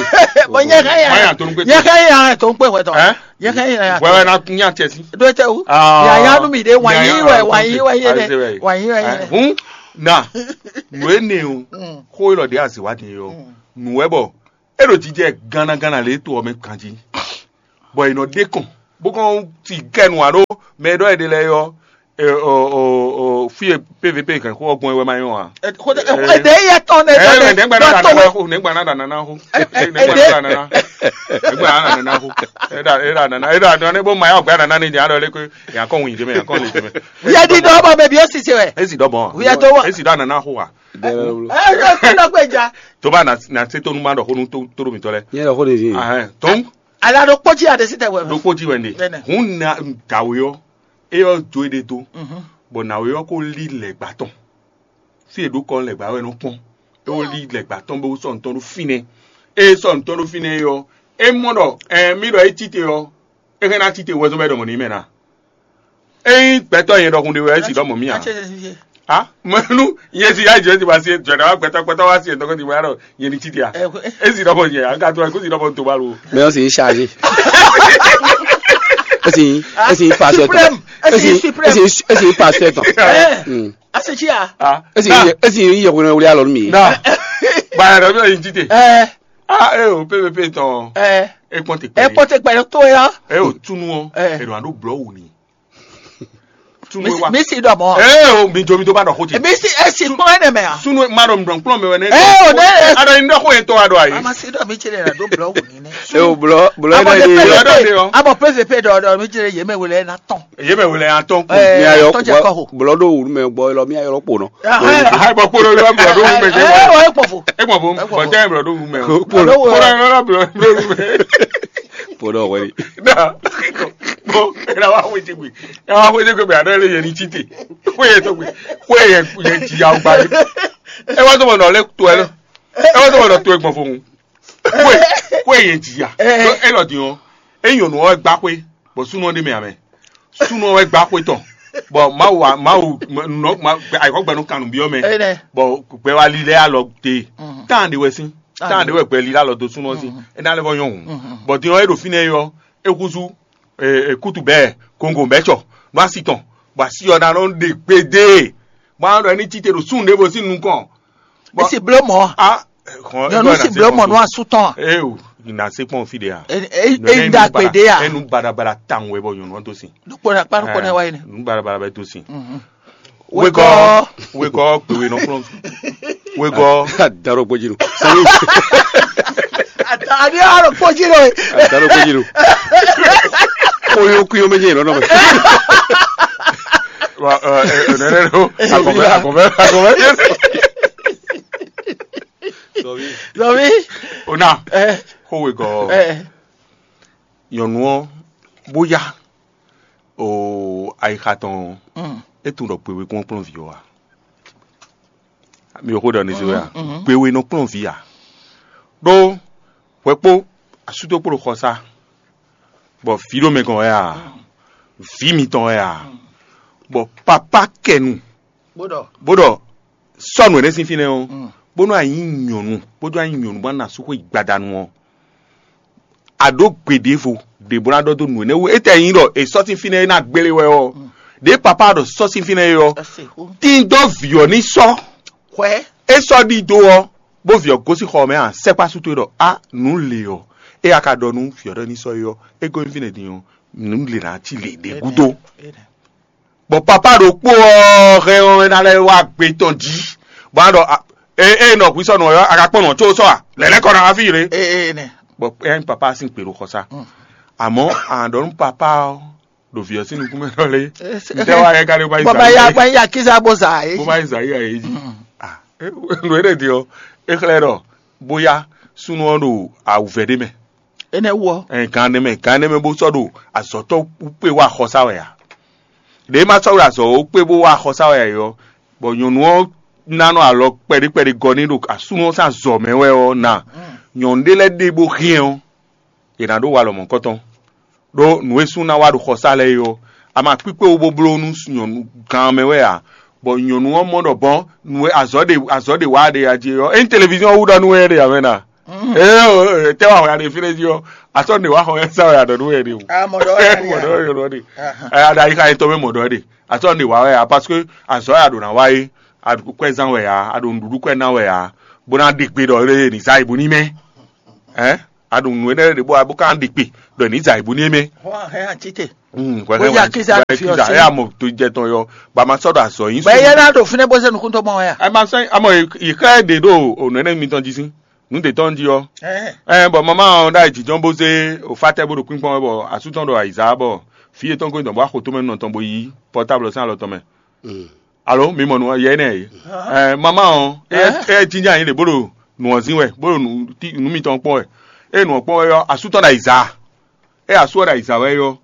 Bọ̀ yẹn ká yà. Báyà tó ń gbé tó. Yẹn ká yà tó ń pè wẹ̀ tọ̀. Ẹ́? Yẹn ká yà. Wẹ́wẹ́ náà tún yà tiẹ̀ sí. Dó tẹ o. Ah. Yàyà nù mí dé wàyí Yàyà wẹ̀ wẹ̀ wàyí wẹ̀ yé dẹ. Wàyí wẹ̀ yé dẹ. Hún. Na nù é ne o. Mm. Xó élɔ́ ɖě azǐ wá din é ɔ́, Mm. nǔ wɛ bɔ é ɖo jijɛ gánnaganna lě to ɔ́ mɛ ganjí, bɔ è nɔ ɖe kɔn bó kɔn ti kɛ nǔ ǎ ɖó mɛ e ɖɔ è ɖe lɛ́ɛ ɔ́, e, o, o, o, fí e pvp kɛn xó ɔ́ gbɔn é wɛ ma nyɔ́ ǎ. Ɛ, xó tɛ, ɛ, ɛ, ɖe yɛ tɔn ne Ɛ, ɖɔ ɛ, ne nɛgbɛ ɖɔ na tɔn nana xó, nɛgbɛ na nana xó, ɛ, ɛ, nɛgbɛ na nana xó, nɛgbɛ na nana xó, ɛ ɖa ɛ ɖa nana ɛ ɖa nɔ ne bó ma yɔ gbɛ nana ne nya ɖɔ lé ko nya kɔn wun yi dé mɛ nya kɔn le dé mɛ. Yɛ di dɔ bɔ bɛ bi o sise wɛ. Esi dɔ bɔn. Wíyá tó wà. Esi dɔ nana xó wa. Ɛ ɛ ɛ dɔ gbɛ ja. Tó bá na na se tó nu ma ɖɔ xó nu tó tó ɖo mi tɔ lɛ. Nyɛ lɔ xó de fi. Ahɛn tó. Ala ɖo kpɔtsi aɖe si tɛ wɛ. Ɖo kpɔtsi wɛ ne. Bɛnɛ. Hun na daweyɔ. Eyɔ jo e ɖe to. Mhm. Bɔn naweyɔ ko li lɛ gba tɔn. Fi e ɖo kɔ lɛ gba wɛ nɔ kpɔn. E wo li lɛ gba tɔn bɛ wo sɔ ntɔn ɖo finɛ. E sɔ ntɔn ɖo finɛ yɔ. E mɔ ɖɔ ɛ mi ɖɔ e tite yɔ. E hɛn na tite wɛzɔn bɛ ɖɔ mɔ ni mɛ na. Eyin gbɛtɔ yɛn ɖɔkun ɖe wɛ esi ɖɔ mɔ mi a. Atsɛ sɛ si. Ha mɛnu yɛn si ya jɛ ti ba si jɛ ɖe wa gbɛtɔ gbɛtɔ wa si yɛn tɔgɔ ti ba ɖɔ yɛn ni tite a. Ɛ, ko, ɛ. Esi ɖɔ mɔ yɛ an ka to ko si ɖɔ mɔ to ba lo. Mais on s'est chargé. Esi esi pastor tɔn. Suprême. Esi Esi suprême. Esi esi pastor tɔn. Eh, Hmm. Ase tsi a? Ah, Esi na, esi yɛ wɛrɛ wuli alɔ mi. Na. Ba yɛrɛ bɛ yin tite. Eh, Ah, e o P V P tɔn. Eh. E kpɔn te E kpɔn te kpɛ to ya. E o tunu o. Eh. E do ando blɔ wu ni. Tunu Mi wa. Mi si dɔ mɔ. E o mi jo mi to ba dɔ ko te. Mi si esi kpɔn ene mɛ a? Sunu ma dɔ mi dɔ kplɔn mɛ wɛ ne. Eh, o ne. A dɔ yin dɔ ko ye to a dɔ ayi. Ama si dɔ mi tse de na do blɔ wu ni ne. E o blɔ blɔ Abo ene ne de. Blɔ dɔ de o. Abo P V P dɔ dɔ mi tse de ye mɛ wele na tɔn. Ye mɛ wele atɔn ko. Eh, Mi ayɔ atɔn jɛ kɔ ho. Blɔ do wulu mɛ gbɔ lɔ mi ayɔ kpo nɔ. Ah, Ayi bɔ kpolo lɔ blɔ do wu mɛ jɛ. Eh, o e kpɔ fo. E gbɔ fo. E gbɔ fo. Bɔ tɛ blɔ do wu mɛ. Kpolo. Kpolo lɔ blɔ do wu mɛ. Kpolo wɛri. Na. Bɔn e na wa xwe jegbe. E wa xwe jegbe bɛ a dɔ le yɛ ni tite. Xwe yɛ tɔgbe. Xwe yɛ yɛ ji ya gba yi. E wa to mɔ nɔ le to ɛ lɔ. E wa to mɔ nɔ to e gbɔ fo ŋu. Xwe xwe yɛ ji ya. E lɔ di ɔ. E nyɔnu ɔ gba xwe. Bɔ sunɔ ɖe mɛ amɛ. Sunɔ wɛ gba xwe tɔn. Bɔ Mawu wa Mawu nɔ ma ayikɔ gbɛnu kanu biɔ mɛ. Bɔ gbɛ wa li lɛ alɔ te. Tan de wɛ sin. Tan de wɛ gbɛ li alɔ do sunɔ sin. E na lɛ bɔ nyɔn hu. Bɔ din ɔ e ɖo fínɛ yɔ. E kuzu e kutu bɛ kongo bɛ tsɔ. Nɔ asi tɔn. Bɔ asi ɔ na nɔ ɖe gbede. Bɔ an ɖɔ ni tite ɖo sun ɖe bo sin nukɔn. Bɔ Esi blo mɔ. Ah, Nyɔnu si blo mɔ nú asú tɔn a? Ee o, na se kpɔn fi ɖe a? E e e da gbe ɖe a? Enu baɖabaɖa tawun wɛ bɔ nyɔnu ɔ́ dó sin. Ɖokpó na kpa ɖokpó na wa yi ne. Nu baɖabaɖa bɛ dó sin. Wegɔ. Wegɔ gbewe nɔ kplɔn. Wegɔ. Adarɔ gbɔdzi nu. Ani arɔ kpɔdzi nɔ ye. Adarɔ gbɔdzi nu. Koyo kuyo mɛ jɛ yɛlɛ nɔ mɛ. Wa ɛ ɛ nɛnɛ do. Akɔfɛ akɔfɛ akɔfɛ. Zɔmi. Ona. Ɛ. Xó wegɔ́. Ɛ. Nyɔnu ɔ́ bó yá o ayixa tɔn. Mm. É tunwun ɖɔ kpewé kún kplɔ́n vǐ ɔ́ a? Mi ò xó ɖɔ ní zé wɛ a? Mhm, mhm. Kpewé nɔ kplɔ́n vǐ a? Ɖó hwɛ kpó asútó kpó ɖo xɔsá, bɔ vǐ ɖo mɛ gɔn wɛ a? Vǐ mitɔn wɛ a? Bɔ papá kɛnu Bó ɖɔ. Bó ɖɔ sɔ́ nǔ énɛ́ sín fínɛ́ ɔ́, bónú a nyǐ nyɔ̌nu bójú a nyǐ nyɔ̌nu bó ná sú xwé gbadanu ɔ́, a ɖǒ gbe ɖěvo ɖě bó ná ɖɔ dó nǔ énɛ́ wú. Étɛ́ nyí ɖɔ è sɔ́ sín fínɛ́ é ná gbélé wɛ ɔ́, ɖěe papá ɖɔ sɔ́ sín fínɛ́ é ɔ́, tín dó vǐ ɔ́ ní sɔ́. Hwɛ. É sɔ́ ɖidó ɔ́, bó vǐ ɔ́ gosín xɔ ɔ́ mɛ a, sɛ́ kpá sú towe ɖɔ á nǔ lě ɔ́, é a ka ɖɔ nú vǐ ɔ́ ɖɔ ní sɔ́ é ɔ́, é gosín fínɛ́ din ɔ́, nǔ lě ná cí lě ɖě gúdo. Bɔ papá ɖokpó ɔ́ hɛn ɔ́ é ná lɛ́ wá gbe tɔn jí, bɔ a ɖɔ e e nɔ hwi sɔ́ nɔ ɔ́ a ka kpɔ́n nɔ có sɔ́ a lɛ̌lɛ́ kɔ ná wá fí yě. Ee nɛ. Bɔ ɛ nyí papá sín kpě ɖo xɔsá. Àmọ́ a ɖɔ nú papá ɔ́ ɖo vǐ ɔ́ sín nukún mɛ ɖɔ lé. Ntɛ́ wá yɛ ka ɖé bó má yi bɔbá ya zǎn bá yí akíza bó zà é. Bó má yi zǎn yí ayé jí. Nǔ éɖé din ɔ́ é xlɛ́ ɖɔ bóyá súnnu ɔ́ ɖo awǔvɛ́ ɖé mɛ. Énɛ́ wú ɔ́. Ɛ gan ɖé mɛ gan ɖé mɛ bó sɔ́ ɖo azɔ̌tɔ́ kpé wá xɔsá wɛ a? Ɖě ma sɔ́ ɖo azɔ̌ kpé bó wá xɔsá wɛ a ɔ́, bɔ nyɔ̌nu ɔ́ ná nɔ alɔ kpɛɖé kpɛɖé gɔ́ n'i ɖo asúnɔ ɔ́ sín azɔ̌ mɛ wɛ ɔ́ ná, nyɔ̌nu ɖé lɛ́ɛ ɖe bó hɛn ɔ́, yě ná ɖó walɔ mɔ̌kɔtɔn. Ɖó nǔ e sú ná wá ɖo xɔsá lɛ́ɛ é ɔ́, a ma kpíkpé wú bó bló nú nyɔ̌nu gan mɛ wɛ ǎ, bɔ nyɔ̌nu ɔ́ mɔ ɖɔ bɔn nǔ e azɔ̌ ɖe azɔ̌ ɖe wá ɖe a jí é ɔ́, ényí televíziɔn wú ɖɔ nú we ɖe ǎ mɛ na? Ee, tɛ wa hɔn ya ɖe fi ɖe jí ɔ́, asɔ ne wa hɔn ya sa ya ɖɔ nú wɛ ɖe o. Ah, mɔdɔ ya ɖe. Mɔdɔ ya ɖe. Aya ɖe ayi xa yetɔ mɛ mɔdɔ ɖe. Asɔ ne wa wɛ ya parce que azɔ ya ɖo na wa ye, a ɖo kwɛ zan wɛ ya, a ɖo nuɖuɖu kwɛ na wɛ ya, bó ná ɖe gbe ɖɔ lé ni za ibu ní mɛ. Ɛ, a ɖo nu énɛ́ ɖe bó a bó ká ɖe gbe ɖɔ ni za ibu ní mɛ. Hɔn hɛn atite. Hmm, Ó yá kíza fi ɔ́ sí. Ɛ, amɔ to jɛ tɔn yɔ, ba ma sɔ ɖo azɔ yin. Bɛ yɛ na ɖo fínɛ bó se nukún tó mɔ wɛ ya. Ɛ ma sɔ amɔ yi xɛ ɖe ɖo o nɛnɛ mi tɔn jí sí. Nu de tɔn jí ɔ. Ɛ bɔn mama ɔ ɖa jijɔn bó zé o fa tɛ bó ɖo kpínkpɔn wɛ bɔ asú tɔn ɖo ayiza bɔ fi yetɔn ko dɔn bó axo tó mɛ nɔ tɔn bó yi pɔtáblɔ sín alɔ tɔn mɛ. Alo mi mɔ nu yɛ nɛ ye. Ɛ mama ɔ ɛ ɛ jinjɛn anyi ɖe bó ɖo nu ɔ zin wɛ bó ɖo nu ti nu mitɔn kpɔn wɛ. Ɛ nu ɔ kpɔn wɛ yɔ asú tɔn ɖo ayiza. Ɛ asú ɔ ɖo ayiza wɛ yɔ.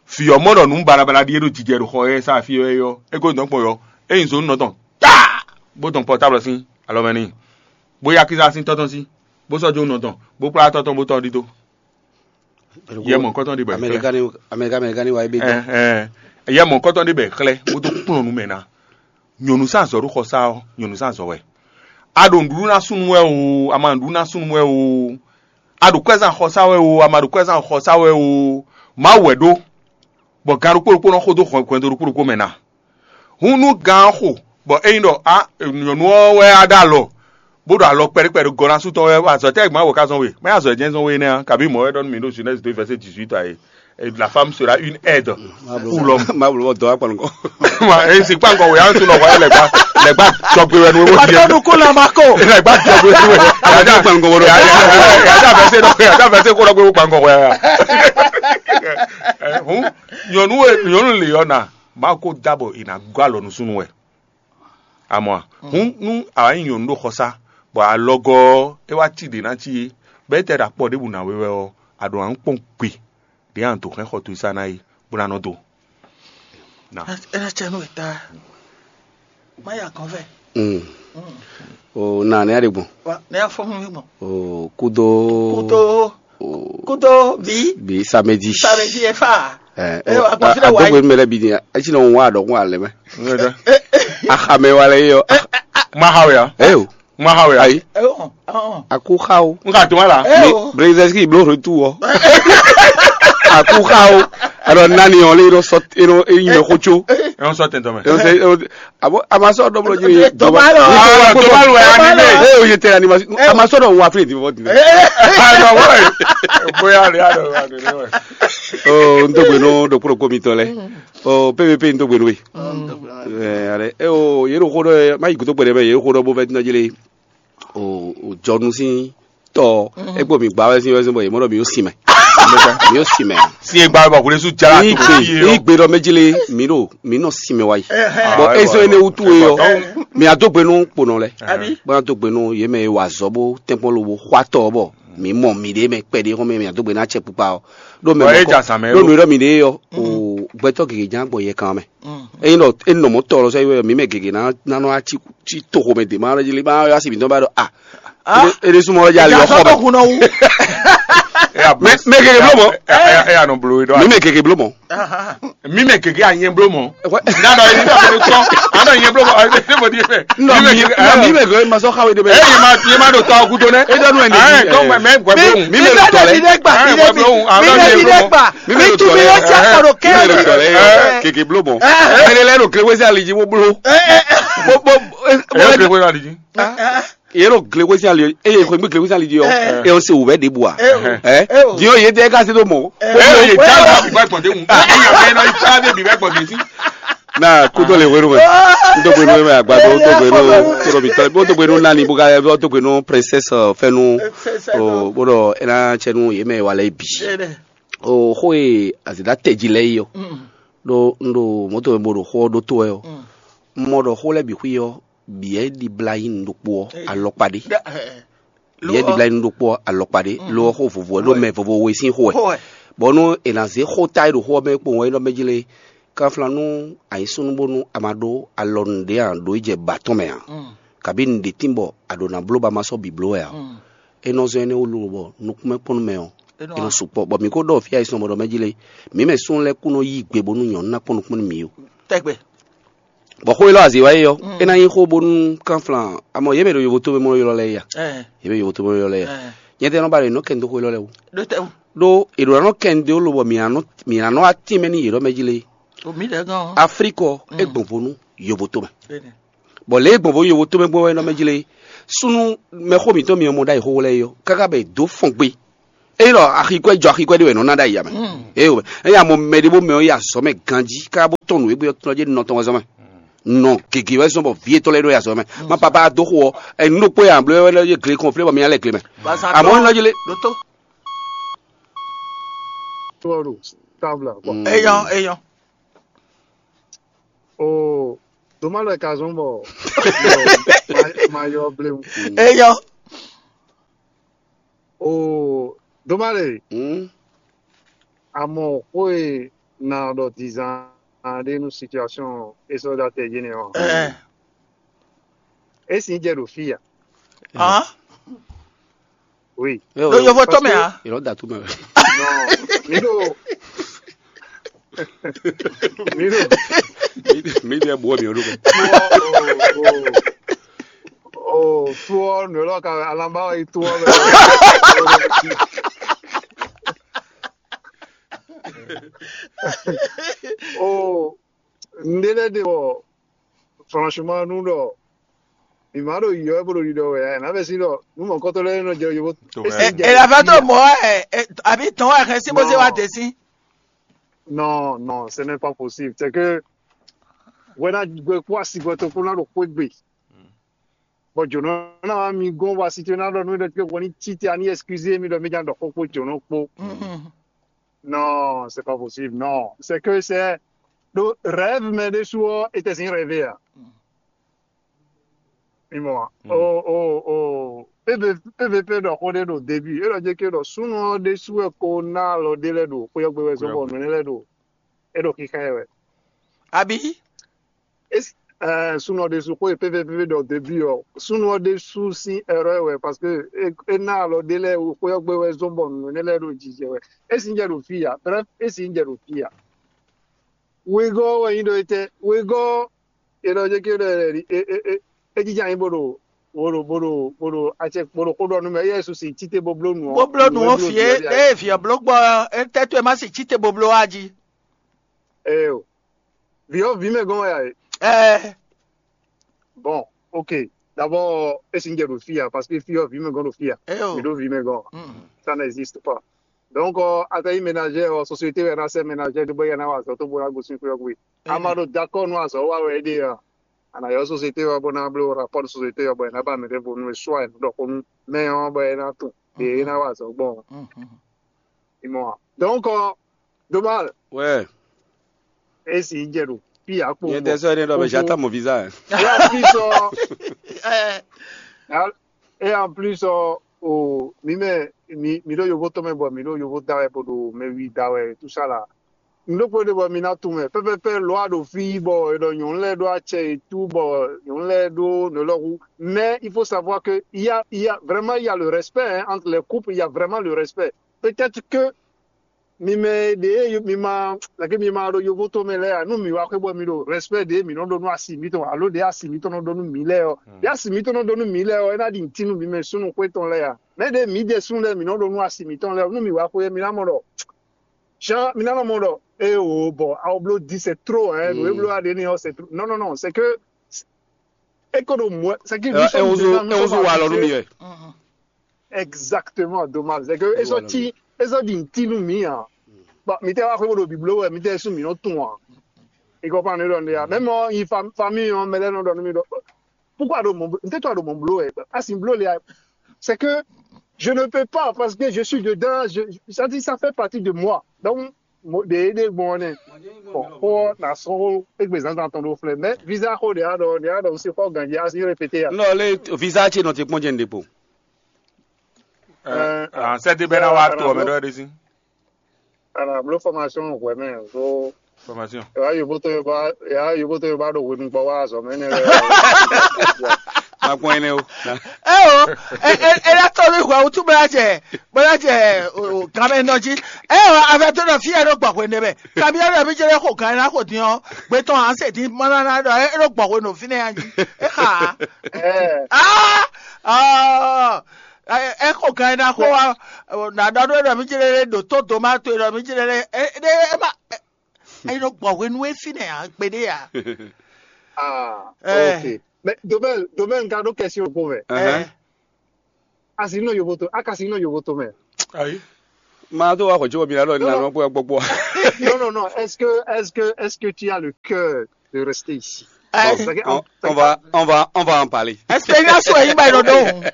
Fi ɔ mɔ ɖɔ nu balabala ɖi e ɖo jijɛ ɖo xɔ yɛ sa fi wɛ yɔ. E ko dɔn kpɔn yɔ. E nyi zonu nɔ tɔn. Taa bó dɔn pɔtáblɔ sín alɔ mɛ n'i. Bó yá kíza sín tɔ́ tɔn sí, bó sɔ́ jó nɔ tɔn, bó kplá tɔ́ tɔn bó tɔ́ ɖidó. Yɛ mɔ̌kɔtɔn ɖé bɔ è xlɛ́. Amɛlikani Amɛlikani wa ebe dɔn. Ɛ ɛ yɛ mɔ̌kɔtɔn ɖé bɔ è xlɛ́ bó dó kplɔ́n nú mɛ ná. Nyɔ̌nu sín azɔ̌ ɖo xɔsá ɔ́, nyɔ̌nu sín azɔ̌ wɛ. A ɖo nǔɖuɖu ná súnnu wɛ o, a ma nǔɖuɖu ná súnnu wɛ o. A ɖo kwɛ́zán xɔsá wɛ o, a ma ɖo kwɛ́zán xɔsá wɛ o. Mawu wɛ ɖó. bɔ gan ɖokpó ɖokpó nɔ xo dó hwɛndo ɖokpó ɖokpó mɛ ná. Hǔn nú gan ɔ́ xo, bɔ ényí ɖɔ á nyɔ̌nu ɔ́ wɛ á ɖó alɔ, bó ɖo alɔ kpɛɖé kpɛɖé gɔ́ ná sú tɔn wɛ, azɔ̌ tɛ́ gbɔn wǒ ká zɔn we? Mɛ azɔ̌ jɛ́n zɔn we énɛ́ ǎ, kabi mɔ̌ wɛ ɖɔ nú mǐ ɖo Genèse deux verset dix-huit ɛ, la femme sera une aide pour l'homme. Ma bló bɔ dɔ wá kpɔn nukɔn. Ma e si kpa nukɔn wɛ á tún nɔ hwɛ lɛgba lɛgba jɔgbe wɛ nu wɛ. Pàtó nukún la ma kó. Lɛgba jɔgbe wɛ nu wɛ. Yàtọ̀ fẹ́ se dɔ yàtọ̀ fẹ́ se kó lọ gbé kpa nukɔn wɛ. Hǔn nyɔ̌nu e nyɔ̌nu lě ɔ́ ná, Mawu ko dá bɔ è nǎ gɔ́ alɔ nú súnnu wɛ. Amɔ̌ a? Hǔn nú a wǎ nyí nyɔ̌nu ɖo xɔsá, bɔ alɔgɔ́ ɔ́, é wá cí ɖě ná cí é, bɔ é tɛ́ ɖo akpɔ ɖěbǔ ná we wɛ ɔ́, a ɖǒ ná kpɔ́n gbe ɖě a nǎ dǒ hɛn xɔ towe sá ná é, bó ná nɔ dó. Ná. É ná cɛ nú wěta. Má ya gɔn vɛ. Mm. O na ne ya ɖe gbɔn. Wa ne ya fɔ mi gbɔn. O kudo. Kudo. O kudo bi. Bi samedi. Samedi e fa. Ɛ, ɛ, o, a gbɔn a- fi ɖe wa yi. Adɔgbe mɛ lɛ bi ni, esi nɔ wa dɔgún alɛ mɛ. Axamɛ wa lɛ yɔ. Ma ha wɛ ya. Eyo. Ma ha wɛ ya. Ayi. Ɛ, ɔ, ɔ, ɔ. Aku xa o. N ka to wa la. Ɛ, ɔ. Brezɛski blo retour ɔ. Aku xa o. Alors nani ɔ le yɔrɔ sɔ yɔrɔ eyi mɛ xo tso. Ɛ, ɔ sɔ tɛntɔn mɛ. Ɛ, ɔ sɛ, ɔ, abo a ma sɔ dɔ blo ji. Dɔba lɔ. Ah, dɔba lɔ ya ni mɛ. Ɛ, o ye tɛ animation. A ma sɔ dɔ wa fi di fɔ di. Ah, non, ouais. Boya le ya dɔ wa de. Oh, n to gbe no do kpolo ko mi tɔ lɛ. Oh, P V P n to gbe no we. Ɛ, ale, e o, yero xo ɖɔ, ma yi gudo gbe ɖe mɛ, yero xo ɖɔ bo vɛ dina jele. O, o jɔnu sín tɔ, e kpo mi gba wɛ sín wɛ sín bɔ yě mɔ ɖɔ mi yó sin mɛ. Mi yó sin mɛ. Si e gba bɔ kule su jala Ní to gbe, fi ní yɔ. Gbe ɖɔ mɛ jele, mi ɖo, mi nɔ sin mɛ wa yi. Bɔn ezɔ ene wutu e yɔ, mi a dó gbe nú kponɔ lɛ. Bɔn a dó gbe nú yě mɛ e wa azɔ bó tɛnkpɔn lobo xɔ atɔ bɔ mi mɔ mi ɖe mɛ kpɛɖe xɔmɛ mi a dó gbe ná cɛ kpukpa ɔ. Ɖo mɛ Bɔ e mɔ ja zan mɛ ɖo lo. Nu ɖɔ mi ɖe yɔ, o gbɛtɔ gege jan gbɔ yɛ kan mɛ. Eyin ɖɔ e nɔ mɔ tɔ lɔ sɛ yɔ mi mɛ gege na na nɔ atsi tsi to xomɛ de ma lɔ dzi li ma yɔ asi mi dɔn ba ɖɔ a. Ede sumɔ lɔ dza li ɔxɔ mɛ. Hun nɔ wu. Mɛ mɛ gege blo mɔ. Eya nɔ blo e dɔ. Mi mɛ gege blo mɔ. Mi mɛ gege a nyɛ blo mɔ. Na dɔ yi dɔ mi tɔ. A dɔ nyɛ blo mɔ. Ɛ se mo di fɛ. Nɔ mi mɛ gege ma sɔ xawe de bɛ. Ɛ yɛ ma yɛ ma do tɔ kudo nɛ. E dɔ nu ɛ ni. Ɛ dɔn mɛ mɛ gbɛ blo. Mi mɛ do tɔ lɛ. Mi mɛ do tɔ lɛ. Mi mɛ do tɔ lɛ. Mi mɛ do tɔ lɛ. Mi mɛ do tɔ lɛ. Gege blo mɔ. Mɛ de lɛ do kle wesi ali ji bo blo. Bo bo. Ɛ kle wesi ali ji. Yero glekwesi ali, eye xwe gbe glekwesi ali di ɔ, e o se wò vɛ ɖe bua. Ɛ, di o ye tɛ ka se do mɔ. Ɛ ye ja la bi gbɛ gbɔde ŋu. Ɛ ya bɛ na yi ta de bi gbɛ gbɔde si. Na kudo le wenu mɛ. N to gbenu mɛ agbado, n to gbenu toro bi tɔ, n to gbenu nani bo ka, n to gbenu princesse fɛnu. O bo dɔ ena cɛnu ye mɛ wa lɛ bi. O xo e azida tɛji lɛ yi ɔ. Ɖo n ɖo moto mɛ bo ɖo xo ɔ ɖo to wɛ ɔ. N mɔ ɖɔ xo lɛ bi xwi ɔ. Biyɛ ɖibla nyí nu ɖokpó ɔ́ alɔkpa ɖé. Biyɛ ɖibla nyí nu ɖokpó ɔ́ alɔkpa ɖé, lo ɔ́ xó vovo wɛ, ɖó mɛ vovo we sín xó wɛ. Bɔ nú è nǎ zé xó ta e ɖo xó ɔ́ mɛ kpowun wɛ é nɔ mɛ jí lé, kanflán nú a nyǐ súnnu bónú a ma ɖó alɔ nǔɖé ǎ ɖó yi jɛ ba tɔn mɛ ǎ, kabǐ nǔɖé tín bɔ a ɖǒ ná bló bɔ a ma sɔ́ bǐ bló wɛ ǎ. É nɔ zɔ́n énɛ́ wú lobo bɔ nukúnmɛ kpɔ́n nú mɛ ɔ́, é nɔ sukpɔ́. Bɔ mǐ ko ɖɔ fí ayisɔn bɔ ɖɔ mɛ jí lé, mǐ mɛ súnnu lɛ́ɛ kú nɔ yí gbe bónú nyɔ̌nu ná kpɔ́n nukúnmɛ nú mǐ ó. Tɛgbɛ. Bɔ xó élɔ́ azǐ wá yi ɔ́, é ná nyí xó bónú kánflán, amɔ yě mɛ ɖo yovotómɛ mɔ ylɔ́ lɛ́ɛ ya. Yě mɛ yovotómɛ mɔ ylɔ́ lɛ́ɛ ya. Nyɛ tɛ nɔ ba ɖe nɔ kɛn dó xó élɔ́ lɛ́ɛ wú. Ɖó è ɖǒ ná nɔ kɛn dó lobɔ mǐ ná nɔ mǐ ná nɔ atínmɛ n'i yě ɖɔ mɛ jí lé. Aflíkɔ é gbɔn vo nú yovotómɛ. Bɔ lě e gbɔn vo yovotómɛ gbɔn wɛ nɔ mɛ jí lé. Súnnu mɛxó mǐtɔn mi mɔ ɖ'ayǐ xóxó lɛ́ɛ é ɔ́, káká bɔ è dǒ fɔn gbé. Ényí ɖɔ axi kwɛ́ jɔ axi kwɛ́ ɖé wɛ nɔ ná ɖ'ayǐ ǎ mɛ. Ée wɛ, ényí a mɔ mɛ ɖé bó mɛ ɔ́ yi azɔ̌ mɛ ganjí káká bó tɔn nǔ e gbé ɔ́ tɔn jɛ nɔ tɔn wɛ zɔ́n mɛ. Nɔ gěgé wɛ zɔ́n bɔ vǐ yětɔn lɛ́ɛ ɖo yi azɔ̌ mɛ. Má papá dó xo ɔ́, ɛ nǔ ɖokpó e ǎ bló wɛ lɛ́ yé gle kɔn flé bɔ mi ná lɛ gle mɛ. Àmọ́ é nɔ jí lé. Ɖótó. Tɔ́ ɖo tábla kɔ. Eyɔn eyɔn. O doma lɔ ka zɔn bɔ ma yɔ blemu. Eyɔn. O doma le. Amɔ xó e na ɖɔ dizan ɖe nu situation e sɔ da tɛ yene ɔ. E si jɛ ɖo fi ya. Oui. Ɖo yovo tɔn mɛ a? Yɔrɔ da tu mɛ. Non, mi ɖo. Mi ɖo. Mi ɖe bɔ mi ɖo. O fo nɔ lɔ ka alamba yi to. Oh, ndé lɛ́ɛ ɖe bɔ franchement nu ɖɔ mǐ ma ɖo yiyɔ wɛ bó ɖo ɖiɖɔ wɛ ɛ nǎ vɛ sí ɖɔ nú mɔ̌kɔtɔ́ lɛ́ɛ nɔ jɛ yovo. Ela va to mɔ ɛ, àbí tɔn wɛ hɛn sí bó zé wá dé sí. Non, non, ce n'est pas possible. C'est que wɛna gbɛ kó asigbɔ tó kó ná ɖo xwé gbe. Bɔ jǒnɔ ná wá mi gɔ́n wá si tó ná ɖɔ nú ɖɔ wɔ ní títí a ní excusé mi ɖɔ mi jà ɖɔ xó kpó jǒnɔ kpó. Non, c'est pas possible. Non, c'est que c'est ɖo rêve mɛ ɖésú ɔ était sin rêvé a. Mi mɔ a. O o o. P V P ɖɔ xó ɖé ɖo début é ɖɔ jɛ ké ɖɔ súnnu ɔ́ ɖésú wɛ ko ná alɔ ɖé lɛ́ɛ ɖo xwé ɔ́ gbe wɛ zɔ́n bɔ nǔ énɛ́ lɛ́ɛ ɖo é ɖo xixá ɛ wɛ. Àbí? Esi ɛɛ súnnu ɔ́ ɖésú xó e P V P ɖɔ début ɔ́ súnnu ɔ́ ɖésú sín erreur wɛ parce que é ná alɔ ɖé lɛ́ɛ xwé ɔ́ gbe wɛ zɔ́n bɔ nǔ énɛ́ lɛ́ɛ ɖo jijɛ wɛ. Esi ń jɛ ɖo fí ya, bref, esi ń jɛ ɖo fí ya. Wegɔ́ wɛ nyí ɖɔ étɛ́? Wegɔ́ è nɔ jɛ kí é jija nyí bó ɖo bó ɖo bó ɖo bó ɖo acɛ bó ɖo xó ɖɔ nú mɛ éyɛ́ su sin títí bó bló nǔ ɔ́. Bó bló nǔ ɔ́ fie ée vǐ ɔ́ bló gbɔ ɔ́, étɛ́ towe má sin títí bó bló wá jí. Eo, vǐ ɔ́ vǐ mɛ gɔ́n wɛ a e? Ɛɛ. Bon, ok. D'abord, é sin jɛ ɖo fí ya parce que fí ɔ́ vǐ mɛ gɔ́n ɖo fí ya. Eo. Mi ɖó vǐ mɛ gɔ́n. Ça n'existe pas. Donc, euh, atɛ nyí ménagère, euh, société wɛ ná sɛ ménagère ɖé bɔ yɛ ná wa azɔ tó bó ná gosín xwé ɔ́ gbe. A ma ɖo d'accord nú azɔ wa wɛ é ɖe ɔ́, a nǎ yɔ société ɔ́ bó ná bló rapport de société ɔ́ bɔ è nǎ ba mɛ ɖěvo nú e soit è nǔ ɖɔ xó nú mɛ ɔ́ bɔ é ná tunwun ɖě é ná wa azɔ̌ gbɔn ɔ́. Ìmọ̀ wa. Donc, euh, Domal, Ouais. É sì jɛ ɖo fí akpo. Nyɛ tɛ sɔ ne ɖɔ bɛ j'attends mon visa. Et en plus, euh, Ɛ, et en plus, euh, o mi mɛ mi mi ɖo yovo tɔn mɛ bɔ mi ɖo yovo da wɛ bɔ ɖo mɛ wi da wɛ tout ça là. Mi ɖo kpɔ́ ɖe bɔ mi ná tún mɛ pɛpɛpɛ lɔ a ɖo fí bɔ e ɖɔ nyɔnu lɛ ɖo acɛ et tout bɔ nyɔnu lɛ ɖo nɔ lɔ hu. Mais il faut savoir que il y a il y a vraiment il y a le respect hein, entre les couples, il y a vraiment le respect. Peut-être que mi mɛ ɖe mi ma lake mi ma ɖo yovo to mɛ lɛ ya nu mi wa xwe bɔ mi ɖo respect ɖe mi nɔ ɖo nu asi mi tɔn alo ɖe asi mi tɔn nɔ ɖo nu mi lɛ ɔ ɖe asi mi tɔn nɔ ɖo nu mi lɛ ɔ ena ɖi ntinu mi mɛ sunu xwe tɔn lɛ ya mɛ ɖe mi ɖe sunu lɛ mi nɔ ɖo nu asi mi tɔn lɛ nu mi wa xwe mi na mɔ ɖɔ shan mi na nɔ mɔ ɖɔ e o bɔ awo blo di c'est trop hein no e blo aɖe ni ɔ c'est trop non non non c'est que e ko ɖo mɔ c'est que nous sommes déjà nous sommes Ewozo wa lɔ nu mi habitués wɛ. Exactement, dommage. C'est que ils ont dit, ils ont dit ntinu mi hein. Bon, mi tɛ wa xwe bo do biblo wɛ, mi tɛ su mi no tun hein. Il comprend ne donne ya. Même euh, il fam famille on mele no donne mi do. Pourquoi do mon peut toi do mon blo wɛ. Ah si blo les c'est que je ne peux pas parce que je suis dedans, je ça dit ça fait partie de moi. Donc mo de de bon ne. Bon, ko na so e gbe zan zan ton do flè. Mais visa ko de ado, de ado c'est fort gagner, asi répéter. Non, le visa ce nɔ ti kpɔn jɛ n de kpo. Euh, Ah, c'est de bena wa to me do de sin. Ala blo formation wɛ mɛ so Formation. ya yobo to yoba ya yobo to yoba do wenu gbɔ wa zɔ mɛ ne. Ma kpɔn ene o. Eo, e e e la tɔ mi hwa wutu bla jɛ bla jɛ o o gan mɛ nɔ ji. Eo, avɛ to nɔ fi yɛ ɖo gbɔ hwene mɛ. Kabi yɛ ɖo mi jɛ ɖe xo gan na xo din ɔ, gbɛtɔ an se din mana na ɖɔ e ɖo gbɔ hwenu fi ne ya ji. E xa. Eh, Ah, ah, e e xo gan na xo wa. Na ɖɔ ɖo ɖɔ mi jɛ ɖe ɖo to do ma to ɖɔ mi jɛ ɖe e ɖe e ma. E ɖo gbɔ hwenu e fi ne ya gbe ɖe ya. ah, Eh. ok. Mais domaine, domaine, garde question pour vous. Ɛhɛn. Asi no yobo to, akasi no yobo to mɛ. Ayi. Ma to wa xɔ tso mi la lɔ na nɔ kpɔ gbɔgbɔ. Non, non, non. Est-ce que, est-ce que, est-ce que tu as le cœur de rester ici? Ɛ, C'est que On, on va on va on va en parler. Experience wɛ yi ba yi nɔ dɔn.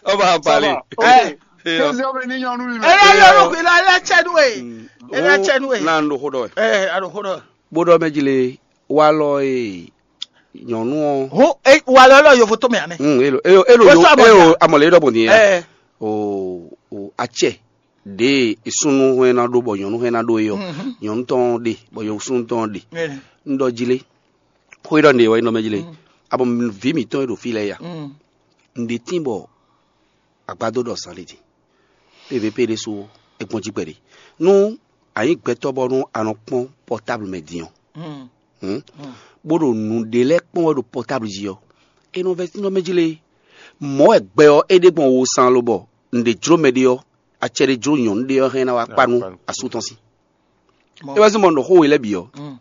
On va en Ça parler. va. Ok. Eh. Et, euh, Deuxième réunion, nous, E la lɔ ko la la cɛ nu e. E la cɛ nu e. Na ndo xo dɔ. Ɛ, a ɖo xo dɔ. Bo dɔ mɛ jile wa lɔ e nyɔnu ɔ. Ho e wa lɔ lɔ yovo to mɛ anɛ. Hmm, elo elo elo What's yo up, elo Monica? amɔ le dɔ bɔn ni ya. Ɛ, O o atsɛ de esunnu hɛn na ɖo bɔ nyɔnu hɛn na ɖo eyɔ. Nyɔnu tɔn ɖe bɔ nyɔnu tɔn ɖe. ɛ, N dɔ jile. Xo yi dɔ ne wɔ yi nɔ mɛ jile. Abɔ vi mi tɔn yi ɖo fi lɛ ya. mm. N ɖe tin bɔ agbado dɔ san ɖe din. P V P ɖe so e gbɔn jí kpɛɖe. Nu anyi gbɛtɔ bɔ nu anɔ kpɔn portable mɛ din ɔ. Hmm? Bó ɖo nǔɖé lɛ́ɛ kpɔ́n wɛ ɖo portable jí ɔ́, é nɔ vɛ́ nɔ mɛ jí lé. Mɔ̌ wɛ gbɛ ɔ́ é ɖe gbɔn wo san lobɔ nǔɖé jló mɛ ɖé ɔ́, acɛ ɖé jló nyɔ̌nu ɖé ɔ́ hɛn ná wá kpa nú asú tɔn sí. É wá sí mɔ nɔ xó we lɛ́ɛ bǐ ɔ́,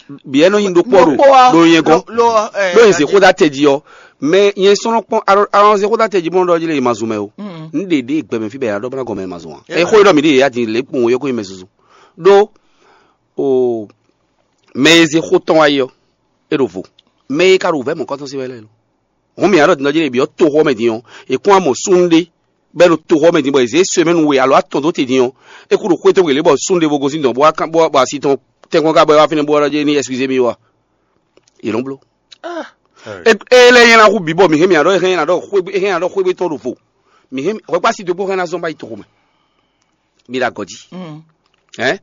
Biyɛ́ nɔ nyi ɖokpó ɖo ɖo nyɛ gɔ́n, ɖo nyɛ zexóɖá tɛ jí ɔ́. Mɛ nyɛ sɔ́ nɔ kpɔ́n alɔ zexóɖá tɛ jí bó nɔ ɖɔ jí lé ma zun mɛ o. Un ɖe ɖě gbɛmɛ fí bɛ ya ɖɔ bó ná gɔn mɛ ma zun a? Ɛ xó ɖɔ mi ɖe yɛ ya din lě kpɔn yɔ kó nyi mɛ zuzu. Ɖó o mɛ e zexó tɔn wá yi ɔ́, é ɖo vo. Mɛ e ka ɖo vɛ̌ mɔ̌kɔ́tɔn sí wɛ lɛ́ɛ lo. Hǔn mǐ ná ɖɔ din ɔ́ jí lé byɔ́ toxo ɔ́ mɛ din ɔ́, è kún wá mɔ súnnu ɖé bɔ é ɖo toxo ɔ́ mɛ din bɔ è zě sɔ́ ɛ mɛ nú we alo atɔn dó te din ɔ́, é kú ɖo xwé tɔn gbe lě bɔ súnnu ɖěvo gosín dɔn bɔ asi tɔn tɛ́nkpɔ́n ká bɔ é wá fínɛ́ bó wá ɖɔ jɛ́n ní ɛsikizé mì wá. Yě nɔ bló. É lɛ́ nyɛ ná hu bǐ bɔ mǐ hɛn mǐ ná ɖɔ é hɛn ná ɖɔ xwé é hɛn ná ɖɔ xwé tɔn ɖo vo. Mǐ hɛn hwɛkpási dó kpó hɛn ná zɔ́n bá yi toxo mɛ. Mi ɖo agɔ̌ jí. Hɛn?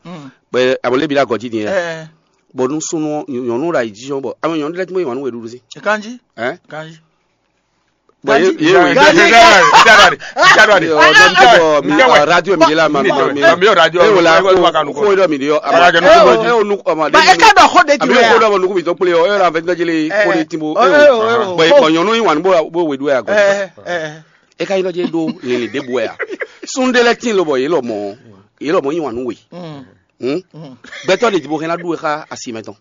Bɔ amɔ lé mi ɖo agɔ̌ jí din yɛ. Bɔ nú súnnu nyɔ̌nu ɖo ayǐjínjɔ́n bɔ amɔ nyɔ̌nu lɛ́ɛ tún bó yi wǎn nú we ɖuɖu sí. Kanjí. Hɛn? Kanjí. Bɔ ye ye wo Gazi, Gazi, Gazi. Yo, non, non, non, mi, ah, radio mi de la ma mi mi mi yo radio e wala ko ko do mi de yo ama e o nu ama de. Ba e ka dɔ xo de ju ya. Ko do ma nuku mi to kple yo e la vɛ jele ko de timbo. Bɔ bɔ nyɔnu yi wan bo bo we du ya ko. E ka yi lɔ je do lele de bo ya. Sunde lɛ tin lo bɔ ye lɔ mɔ ye lɔ mɔ yi wan nu we. Gbɛtɔ de jibo hɛn na du e xa asi mɛ tɔn.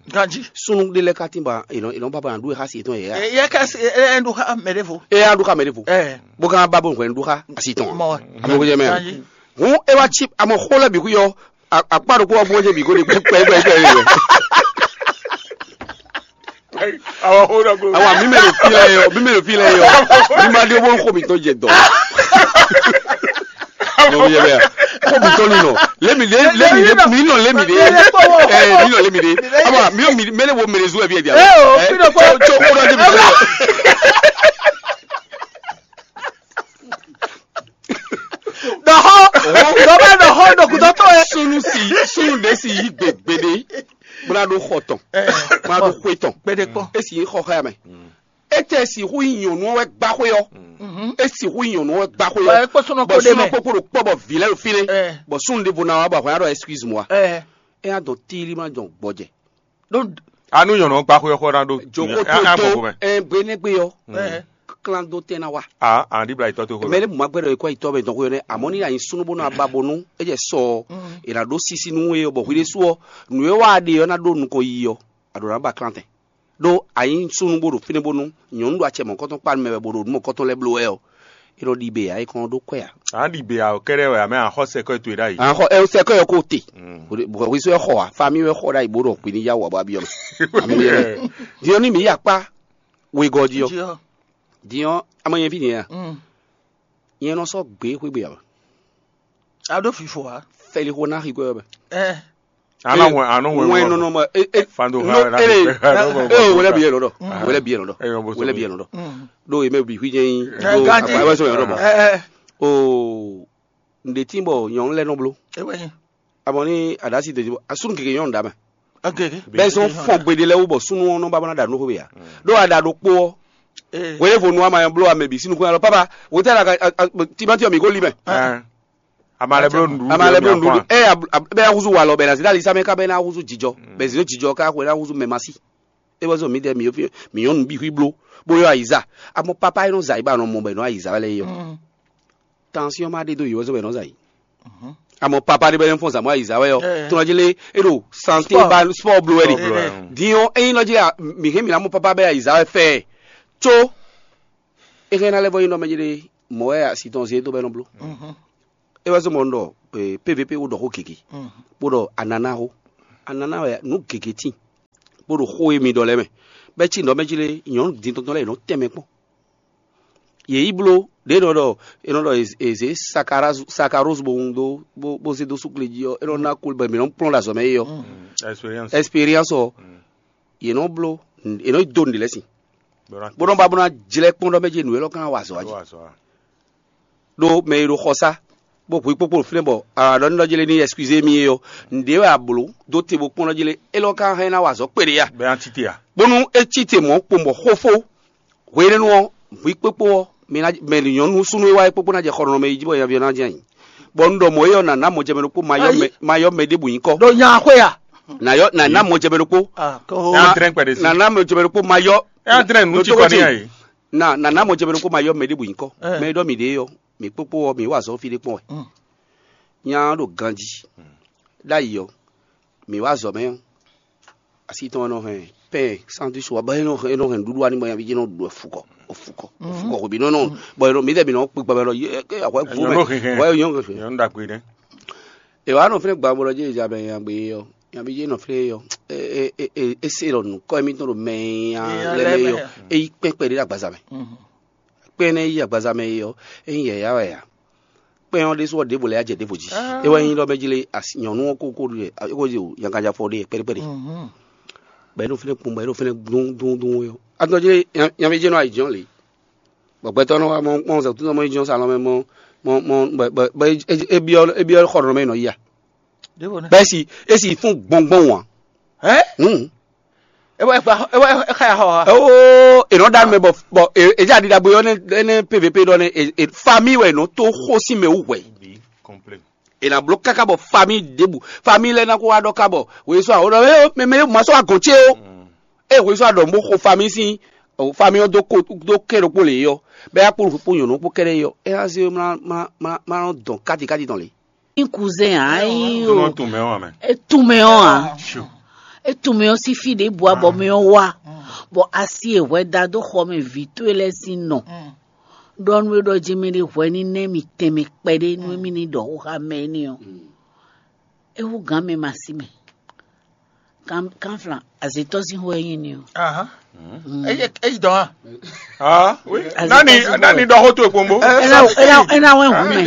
Ganji. Súnnu ɖé lɛ́ɛ ka tín ba è nɔ è nɔ ba ba ná ɖu e xá si yětɔn yě a? Yɛ ká si ɛ ɛ ɖu xá mɛ ɖěvo. É á ɖu xá mɛ ɖěvo. Ɛ. Bó ka ba bó hwɛ̌n ɖu xá asi tɔn. Mɔ. Amɛ ko jɛ mɛ. Ganji. Hǔn é wá cí amɔ xó lɛ́ɛ bǐ xú yɔ akpá ɖokpó wá bú ɔ́ jɛ bǐ gó ɖe kpɛ́kpɛ́kpɛ́ yɛ. Awa xó ɖɔ ko. Awa mi mɛ ɖo fi lɛ yɔ mi mɛ ɖo fi lɛ yɔ mi ma ɖe bó xó mi tɔn jɛ dɔ. Xó mi tɔn nɔ lé mi lé lé mi lé mi nɔ lé mi lé ɛ mi nɔ lé mi lé ama mi mi mɛ ne wo mɛ ne zu ɛ bi ɛ di a. Ɛ tso kó ɖɔ jɛ mi tɔn. Dɔxɔ dɔbɛ dɔxɔ dɔkutɔ tɔ yɛ. Sunu si sunu de si yi gbegbe de bla ɖo xɔ tɔn bla ɖo xwe tɔn. Gbede kpɔ. Esi yi xɔ xɛ mɛ. Etɛ sixú yi nyɔnu wɛ gba xwe ɔ. E sixú yi nyɔnu wɛ gba xwe ɔ. Bɔ ekpɔ sɔnɔ kpo de mɛ. Kpokpo ɖo kpɔ bɔ vi lɛ ɖo fi nɛ. Bɔ sunu de vo na wa bɔ ahɔn ya ɖɔ excuse moi. E ya dɔn tili ma dɔn gbɔjɛ. Anu nyɔnu gba xwe ɔ xɔ na ɖo. Joko to to ɛ gbe ne gbe yɔ. Klan do tɛ na wa. Aa andi bla itɔ to xwe. Mɛ ne buma gbɛdɔ ekɔ itɔ bɛ dɔn xwe nɛ amɔ ni anyi sunu bó na ba bonu e jɛ sɔ e na ɖo sisi nu ye bɔ hwi de su ɔ nu ye wa de yɔ na ɖo nukɔ yi yɔ a ɖo na ba klan tɛ. Ɖó a nyí súnnu bó ɖo fínɛ́ bónú nyɔ̌nu ɖo acɛ mɔ̌kɔtɔn kpá mɛ wɛ bó ɖo nǔ mɔ̌kɔtɔn lɛ́ɛ bló wɛ ɔ́, é nɔ ɖi bě ǎ é kɔn dó kwɛ́ ǎ. A ɖi bě ǎ kɛ́ɖɛ́ wɛ, a mɛ a xɔ sɛkɔ́ towe ɖ'ayǐ. A xɔ ɛ sɛkɔ́ ɔ kó te. Bɔ hwi sɔ́ ɛ xɔ ǎ, fami wɛ xɔ ɖ'ayǐ bó ɖɔ hwi ní yá wǔ abɔ abyɔ́ mɛ. Ami yɛ lɛ. Din ɔ́ ní mǐ yi akpá wegɔ́ jí ɔ́. Din ɔ́, ama nyɛ fí nyɛ a? Nyɛ nɔ sɔ́ gbě xwé gbe ǎ. A ɖó fifo ǎ. Fɛlixo ná xi kwɛ ɔ́ mɛ. Ɛ. Anɔ wɛn anɔ wɛn wɛn nɔ nɔ ma e e fando no ha na ele e o wele bi yɛ nɔ dɔ wele bi yɛ nɔ dɔ wele bi yɛ nɔ dɔ do eme bi hui jɛ yin do akpa wɛ sɔ yɛ nɔ bɔ o nde tin bɔ nyɔnu lɛ nɔ blo. Abɔ ni adasi de bɔ asunu keke nyɔnu da mɛ. Bɛ sɔn fɔn gbede lɛ wo bɔ sunu wɔn nɔ ba bɔ na da nɔ ko be ya do ada do kpo wele vo nu ama yɛ blo ame bi sinu kun alɔ papa wotɛ la ka timati mi ko li mɛ. Ama lɛ bló nuɖuɖu. Ama lɛ bló nuɖuɖu. Ɛ bɛ na huzu walɔ bɛ na zidali same ka bɛ na huzu jijɔ bɛ zidɔ jijɔ ka xwe na huzu mɛ masi. E bɔ zɔ mi dɛ mi yɔ mi yɔ nu bi hui blo bo yɔ ayiza. Amɔ papa yi nɔ za yi ba nɔ mɔ bɛ nɔ ayiza wɛ lɛ yɔ. Tansiɔn ma ɖe do yi wɛ zɔ bɛ nɔ za yi. Amɔ papa ɖe bɛ nɔ fɔn zamɔ ayiza wɛ yɔ. Tɔnɔ jele e ɖo sante ba sport blo wɛ de. Diɔ eyin nɔ jele mi hɛn mi na mɔ papa bɛ ayiza wɛ fɛ. Tso e hɛn na lɛ vɔ yi nɔ mɛ jele mɔ wɛ asi tɔn ze do bɛ nɔ blo. É wɛ zɔ́n bɔ un ɖɔ P V P wo ɖɔ xó gěgé, bó ɖɔ anana xó. Anana wɛ nǔ gěgé tíin, bó ɖo xó e mi ɖɔ lɛ́ɛ mɛ. Bɛ́ cí nǔ ɖɔ mɛ jí lé nyɔ̌nu din tɔn tɔn lɛ́ɛ è nɔ tɛn mɛ kpɔ́n. Yě yi bló ɖě nɔ ɖɔ è nɔ ɖɔ è zě sakaróz bo wun dó bó zé dó súkle jí ɔ́, é nɔ ná kú bɔ mǐ nɔ kplɔ́n ɖo azɔ̌ mɛ é ɔ́. Expérience ɔ́, yě nɔ bló, yě nɔ dó nǔɖé lɛ́ɛ sin, bó nɔ ba bó ná jlɛ́ kpɔ́n ɖɔ mɛ jí nǔ élɔ́ ká ná wa azɔ̌ jí. Ɖó mɛ e ɖo xɔ sá bó hu kpókpó ɖo fínɛ́ bɔ a ɖɔ nú nɔjlé ní ɛskizé mì é ɔ́, nǔɖé wɛ a blǒ dó te bó kpɔ́n nɔjlé élɔ́ ka hɛn ná wa azɔ̌ kpeɖé a? Bónú é cí te mɔ̌ kpowun bɔ xófó hwenɛ́nu ɔ́, hwi kpókpó ɔ́, mi ná mɛ nyɔ̌nu súnnu e wá é kpókpó ná jɛ xɔ nɔnɔmɛ yi jí bɔ nyaví ɔ́ ná jɛ ayǐ. Bɔ un ɖɔ mɔ̌ é ɔ́, nǎ ná mɔjɛmɛ ɖokpó ma yɔ mɛ ma yɔ mɛ ɖěbǔ nyǐkɔ. Ɖo nya xwé a? Nǎ yɔ nǎ ná mɔjɛmɛ ɖokpó. Ɛ á drɛ́n kpɛɖé sí. Nǎ ná mɔjɛmɛ ɖokpó ma yɔ. Ɛ á drɛ́n nǔ ci kɔ ní ayǐ. Na nana mɔ jɛ mɛ ɖokpó ma yɔ mɛ ɖěbǔ nyǐkɔ. Mɛ e ɖɔ mǐ ɖe ɔ́, mǐ kpókpó ɔ́, mǐ wa azɔ̌ fí ɖé kpɔ́n wɛ. Nya ɔ́ ɖo ganjí. Ɖ'ayǐ ɔ́, mǐ wa azɔ̌ mɛ ɔ́, asi tɔn nɔ hɛn pɛn santi so bɔ e nɔ hɛn nǔɖuɖu ani bɔ nyaví jɛ nɔ ɖu efukɔ ofukɔ ofukɔ hwebi nɔ nɔ bɔ e nɔ mi tɛ mi nɔ kpe gbɛmɛ lɔ ye ke ahwɛ gu mɛ ahwɛ yɔn ke. Nyɔnu ɖagbe nɛ. E wa nɔ fɛnɛ gba bɔ lɔ jɛ ja bɛ nyaví jɛ nyaví jɛ nɔ fɛnɛ yɔ e e e e se lɔ nukɔ mi tɔn ɖo mɛ ya lɛ mɛ yɔ e yi kpɛkpɛ ɖe ɖo agbaza mɛ. Kpɛn nɛ yi agbaza mɛ yi ɔ, e nyí yɛ̌yá wɛ ǎ. Kpɛn ɔ́ ɖésú ɔ́, ɖěvo lɛ́ɛ jɛ ɖěvo jí. É wɛ nyí ɖɔ mɛ jí lé asi nyɔ̌nu ɔ́ kókó ɖu é kó jí o nyakanjafɔ ɖe kpɛɖékpɛɖé. Bɔ é ɖo fínɛ́ kpɔ́n, bɔ é ɖo fínɛ́ dún dún dún é ɔ́. Atɔ́ jí lé nyaví jɛ́n nɔ ayǐjínjɔ́n lě. Bɔ gbɛtɔ́ nɔ wá mɔ kpɔ́n zɛ kútúnɔ mɔ yi jínjɔ́n salɔn mɛ mɔ mɔ mɔ bɔ bɔ é byɔ́ é byɔ́ xɔ ɖɔ̌ mɛ nɔ yi a. Bɛ́ si é si fún gbɔngbɔn wǎn. Hɛn? Hmm. É wɛ é wɛ é xa ya xɔ ha. Ó, è nɔ ɖa mɛ bɔ bɔ èdze aɖiɖagbe ɔ́ nɛ pvp ɖɔ nɛ famille wɛ è nɔ tó xó sín mɛ wú hwɛ. È nǎ bló káká bɔ famille ɖěbǔ famille lɛ́ɛ ná kó wá ɖɔ ká bɔ wòye sɔ́ àwọn ɖɔ mɛ mɛ yóò má sɔ́ wá gɔ̌n ce ó. Ée wòye sɔ́ wá ɖɔ bó xo famille sín famille ɔ́ dó kó dó kɛ́ ɖokpó lě ɔ́ bɛ́ yá kpó kpó nyɔ̌nu kpó kɛ́ɖɛ́ ɔ́ é ná zé má má má má nɔ dɔn káti káti tɔn lě. Ní kuzɛn ǎ é nyí o. Tunmɛ ɔ́ ǎ mɛ. Etunmɛ ɔ́ ǎ. Etunmɛ ɔ́ sín fí ɖěbǔ abɔmɛ ɔ́ wá, bɔ asi e hwɛ da dó xɔ mɛ vǐ towe lɛ́ɛ sín nɔ ɖɔ nú é ɖɔ jí mɛ ɖé hwɛ ní nɛ́ mì tɛnmɛ kpɛɖé nú émí ní ɖɔ xó xá mɛ énɛ́ ɔ́, é hú gǎn mɛ ma sí mɛ. Kánflan, azǐtɔ́ sín xó wɛ nyí ni o. Ahan. Eyi dɔn a? Ah, oui. Nani nani dɔ xó to ekpombo. Ena ena wɛ hu mɛ.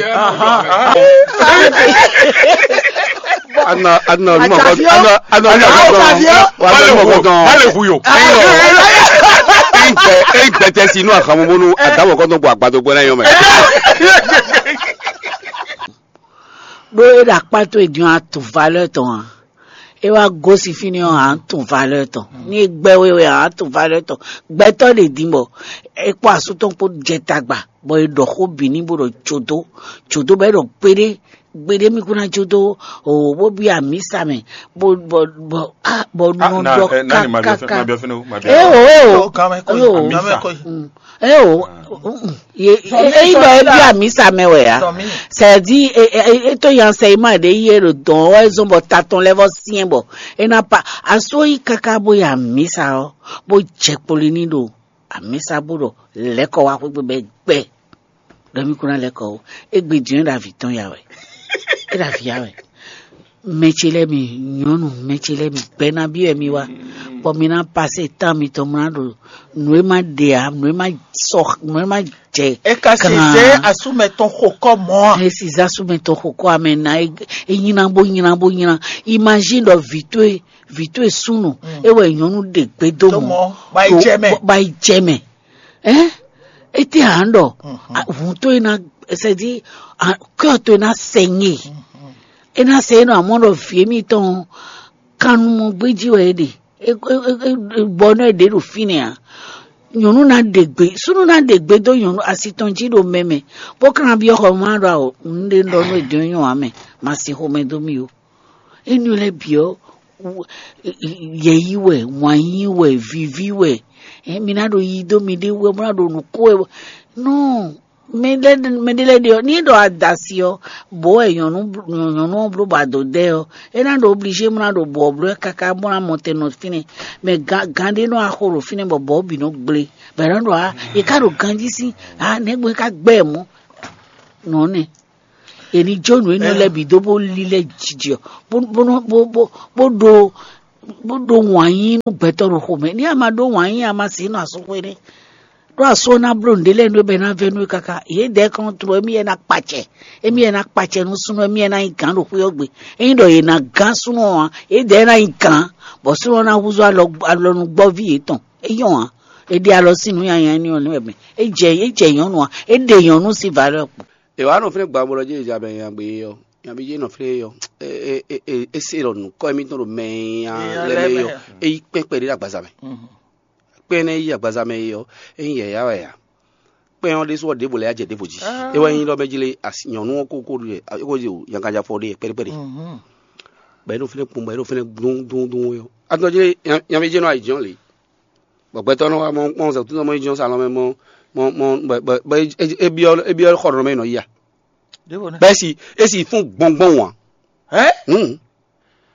Ana ana lu mɔgɔ ana ana lu mɔgɔ dɔn. Wa lu mɔgɔ dɔn. Bale hu yo. Egbɛ egbɛ tɛ si nu ahan mo bonu adamu kɔntɔn bɔ agbado gbɛ na yɔ mɛ. Ɖó é ɖo akpá towe din ɔ́, a tunwun valeur tɔn ǎ. É wá gosín fínɛ́ ɔ́, a nǎ tunwun valeur tɔn. Ní é gbɛ́ we wɛ, a nǎ tunwun valeur tɔn. Gbɛtɔ́ ɖě din bɔ é kpó asú tɔn kpó jɛ tagba, bɔ è ɖɔ xó bǐ n'i bó ɖɔ jǒdó, jǒdó bɔ é ɖɔ gbeɖé, gbeɖé mì kún ná jǒdó o, bó bí amǐsa mɛ, bó bɔ bɔ ah, bɔ nɔ ɖɔ kákáká. É o é o. É o. Eyi bɔ é byɔ́ amǐsa mɛ wɛ ǎ. Sɛdi é tó nyi ansɛyima ɖé yi é ɖo dɔn ɔ́ wɛ zɔn bɔ ta tɔn lɛ́ vɔ syɛn bɔ é ná pa aso yi káká bó yi amǐsa ɔ́ bó jɛ kpoli ní ɖo amǐsa bó ɖɔ lɛ̌kɔ wá xwégbe bɛ gbɛ ɖɔ mí kún ná lɛ̌kɔ ó. Égbé din é ɖo avǐ tɔn ya wɛ. É ɖo avǐ ya wɛ. Mɛ ce lɛ́ɛ mi nyɔ̌nu, mɛ ce lɛ́ɛ mi gbɛ́ ná byɔ́ wɛ mi wá, bɔ mi ná pasé tán mitɔn mlá ɖo nǔ e ma ɖe ǎ, nǔ e ma sɔ, nǔ e ma jɛ. É ka si zé asúmɛ tɔn xo kɔ mɔ a? É si zé asúmɛ tɔn xo kɔ amɛ ná é nylá bó nylá bó nylá. Imagine ɖɔ vǐ towe vǐ towe súnnu é wɛ nyɔ̌nu ɖe gbé dó mɔ, ba yi jɛ mɛ. Ba yi jɛ mɛ. Ɛn, étɛ́ ǎ ɖɔ hun towe ná sɛdi kɔ́ towe ná sɛnyɛ. É ná sɛ é nɔ amɔ̌ ɖɔ vǐ émítɔn kannumɔ gbéjí wɛ é ɖe. Bɔ nɔ é ɖě ɖo fínɛ́ ǎ. Nyɔ̌nu ná ɖe gbe, súnnu ná ɖe gbe dó nyɔ̌nu asi tɔn jí ɖo mɛ mɛ, bó ka ná byɔ́ xɔ má ɖɔ awɔ nǔɖé un ɖɔ nú è dɔn nyɔ ǎ mɛ, ma sin xomɛ dó mì ó. Énɛ́ lɛ́ɛ bǐ ɔ́, yɛ̌yi wɛ, wǎn yí wɛ, vǐví wɛ, mi ná ɖo yi dó miɖée wɛ, bó ná ɖo nǔ kó wɛ. Nú mɛɖé lɛ́ɛ ɖe ɔ́, ní é ɖɔ adasi ɔ́, bǒ wɛ nyɔ̌nu ɔ́ bló bɔ ado dɛ ɔ́, é ná ɖo oblizé bó ná ɖo bɔ̌ bló ɛ káká bó ná mɔ tɛn nɔ fínɛ́. Mɛ gǎn ɖé nɔ wá xo ɖo fínɛ́ bɔ bɔ̌ bǐ nɔ gblé, bɔ è nɔ ɖɔ á, è ká ɖo ganjí sín á, nɛ̌gbɔn é ká gbɛ́ ɛ mɔ̌. Nɔ̌ nɛ. È ní jó nǔ énɛ́ lɛ́ɛ bǐ dó bó lílɛ́ jijɛ bó bó bó bó ɖó bó ɖó wǎn yí nú gbɛtɔ́ ɖo xomɛ. Ní a ma ɖó wǎn yí a ma se nɔ asúxwé nɛ́. Ɖó asú ɔ́ ná bló nǔɖé lɛ́ɛ nú é bɔ é ná vɛ́ nú é káká. Yě dɛ̌ kɔn tló émí wɛ ná kpacɛ. Émí wɛ ná kpacɛ nú súnnu émí wɛ ná nyí gǎn ɖo xwé ɔ́ gbe. Ényí ɖɔ yě ná gán súnnu ɔ́ ǎ, yě dɛ̌ ná nyí gǎn, bɔ súnnu ɔ́ ná húzú alɔ alɔnugbɔ́ví yětɔn. É nyɔ́ ǎ. È ɖe alɔ sín nǔ nyanya énɛ́ ɔ́ nú wɛ mɛ. É jɛ é jɛ nyɔ̌nu ǎ. É ɖe nyɔ̌nu sín valeur kpo. È wǎ nɔ fínɛ́ gbǎgbɔ ɖɔ jɛ́n è ja bɛ nya gbe ɔ́, nyaví jɛ́n nɔ fínɛ́ ɔ́, é se ɖɔ nǔkɔ émítɔn ɖo mɛ nya lɛ́ɛ mɛ ɔ́, é yí kpɛ́n kpɛɖé ɖo agbaza mɛ. Kpɛ́n énɛ́ yí agbaza mɛ é ɔ́, é nyí yɛ̌yá wɛ ǎ. Kpɛ́n ɔ́ ɖésú ɔ́, ɖěvo lɛ́ɛ yá jɛ ɖěvo jí. É wɛ nyí ɖɔ mɛ jí lé nyɔ̌nu ɔ́ kókó ɖu é kó jí o nyakanjafɔ ɖe kpɛɖé kpɛɖé. Bɔ é ɖo fínɛ́ kpɔ́n, bɔ é ɖo fínɛ́ dún dún dún é ɔ́. Atɔ́ jí lé nyaví jɛ́n nɔ ayǐjínjɔ́n lě. Bɔ gbɛtɔ́ nɔ wá mɔ kpɔ́n zɛ kútúnɔ mɔ yi jɔ́n salɔn mɛ mɔ mɔ mɔ bɔ bɔ bɔ é byɔ́ é byɔ́ xɔ ɖɔ̌n mɛ nɔ yi a. Bɛ́ si é si fún gbɔngbɔn wǎn. Hɛn?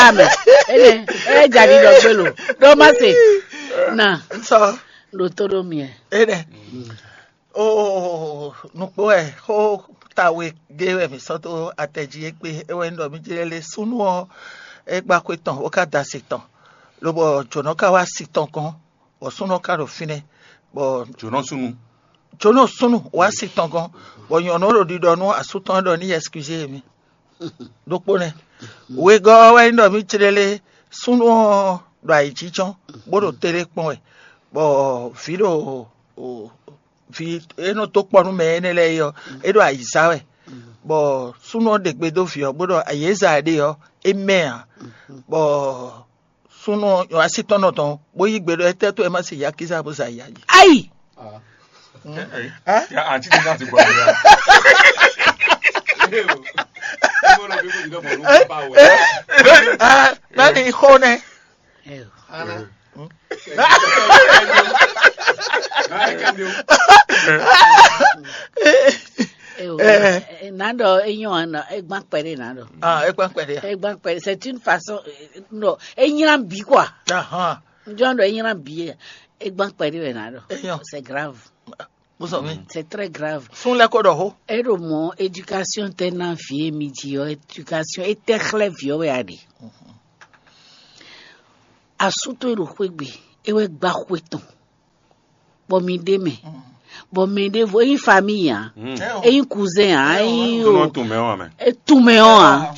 la mɛ. Ene, e ja ɖiɖɔ gbe lo. Ɖo ma se. Na, Sɔ ɖo to ɖo miɛ. Ene. O nukpo wɛ xó tawe gé wɛ mǐ sɔ́ dó atɛ jí é kpé é wɛ nyí ɖɔ mí jlé lé súnnu ɔ́ é gbá xwé tɔn bó ka da asi tɔn, lobɔ jǒnɔ ka wá asi tɔn gɔ́n, bɔ súnnu ɔ́ ka ɖo fínɛ́, bɔ Jǒnɔ súnnu. Jǒnɔ súnnu wá asi tɔn gɔ́n, bɔ nyɔ̌nu ɔ́ ɖo ɖiɖɔ nú asú tɔn ɖɔ ní yi ɛskizé mi. Ɖokpó nɛ́. Wegɔ́ ɔ́ wɛ nyí ɖɔ mí clélé súnnu ɔ́ ɖo ayǐjínjɔ́n, bó ɖo télé kpɔ́n wɛ, bɔ vǐ ɖo vǐ e nɔ dó kpɔ nú mɛ énɛ́ lɛ́ɛ é ɔ́, é ɖo ayǐ zá wɛ, bɔ súnnu ɔ́ ɖe gbe dó vǐ ɔ́, bó ɖɔ ayǐ e zá ɛ ɖe ɔ́, é mɛ ǎ, bɔ súnnu ɔ́ nɔ así tɔn nɔ tɔn, bó yí gbe ɖɔ étɛ́ tó e ma se yakíza bó za ya yi. Ayi. Ya àǹtí ní láti gbọ́ mi rárá. Bẹ́ẹ̀ni xó nẹ. Nado enyɔ ana egban kpɛɖe nado. Ah, ekpan kpɛɖe. Egban kpɛɖe, c'est une façon, no, enyla bi quoi. Ahan. Njɔ do enyla bi, egban kpɛɖe wɛ nado. Enyɔ. C'est grave. Bùsọ̀ mi. C'est très grave. Fún lẹ́kọ̀ọ́ dọ̀ hó. Eɖo mɔ éducation tɛ na vie mi dzi ɔ, éducation etɛ xlɛ viɔ wɛ aɖe. Asú tó e ɖo xwé gbe, é wɛ gba xwe tɔn, bɔ mi ɖe mɛ, bɔ mɛ ɖe vo eyin famille ya, eyin cousin ya, eyin Nɔ o, tún mɛ wa mɛ. etumɛ ɔ a.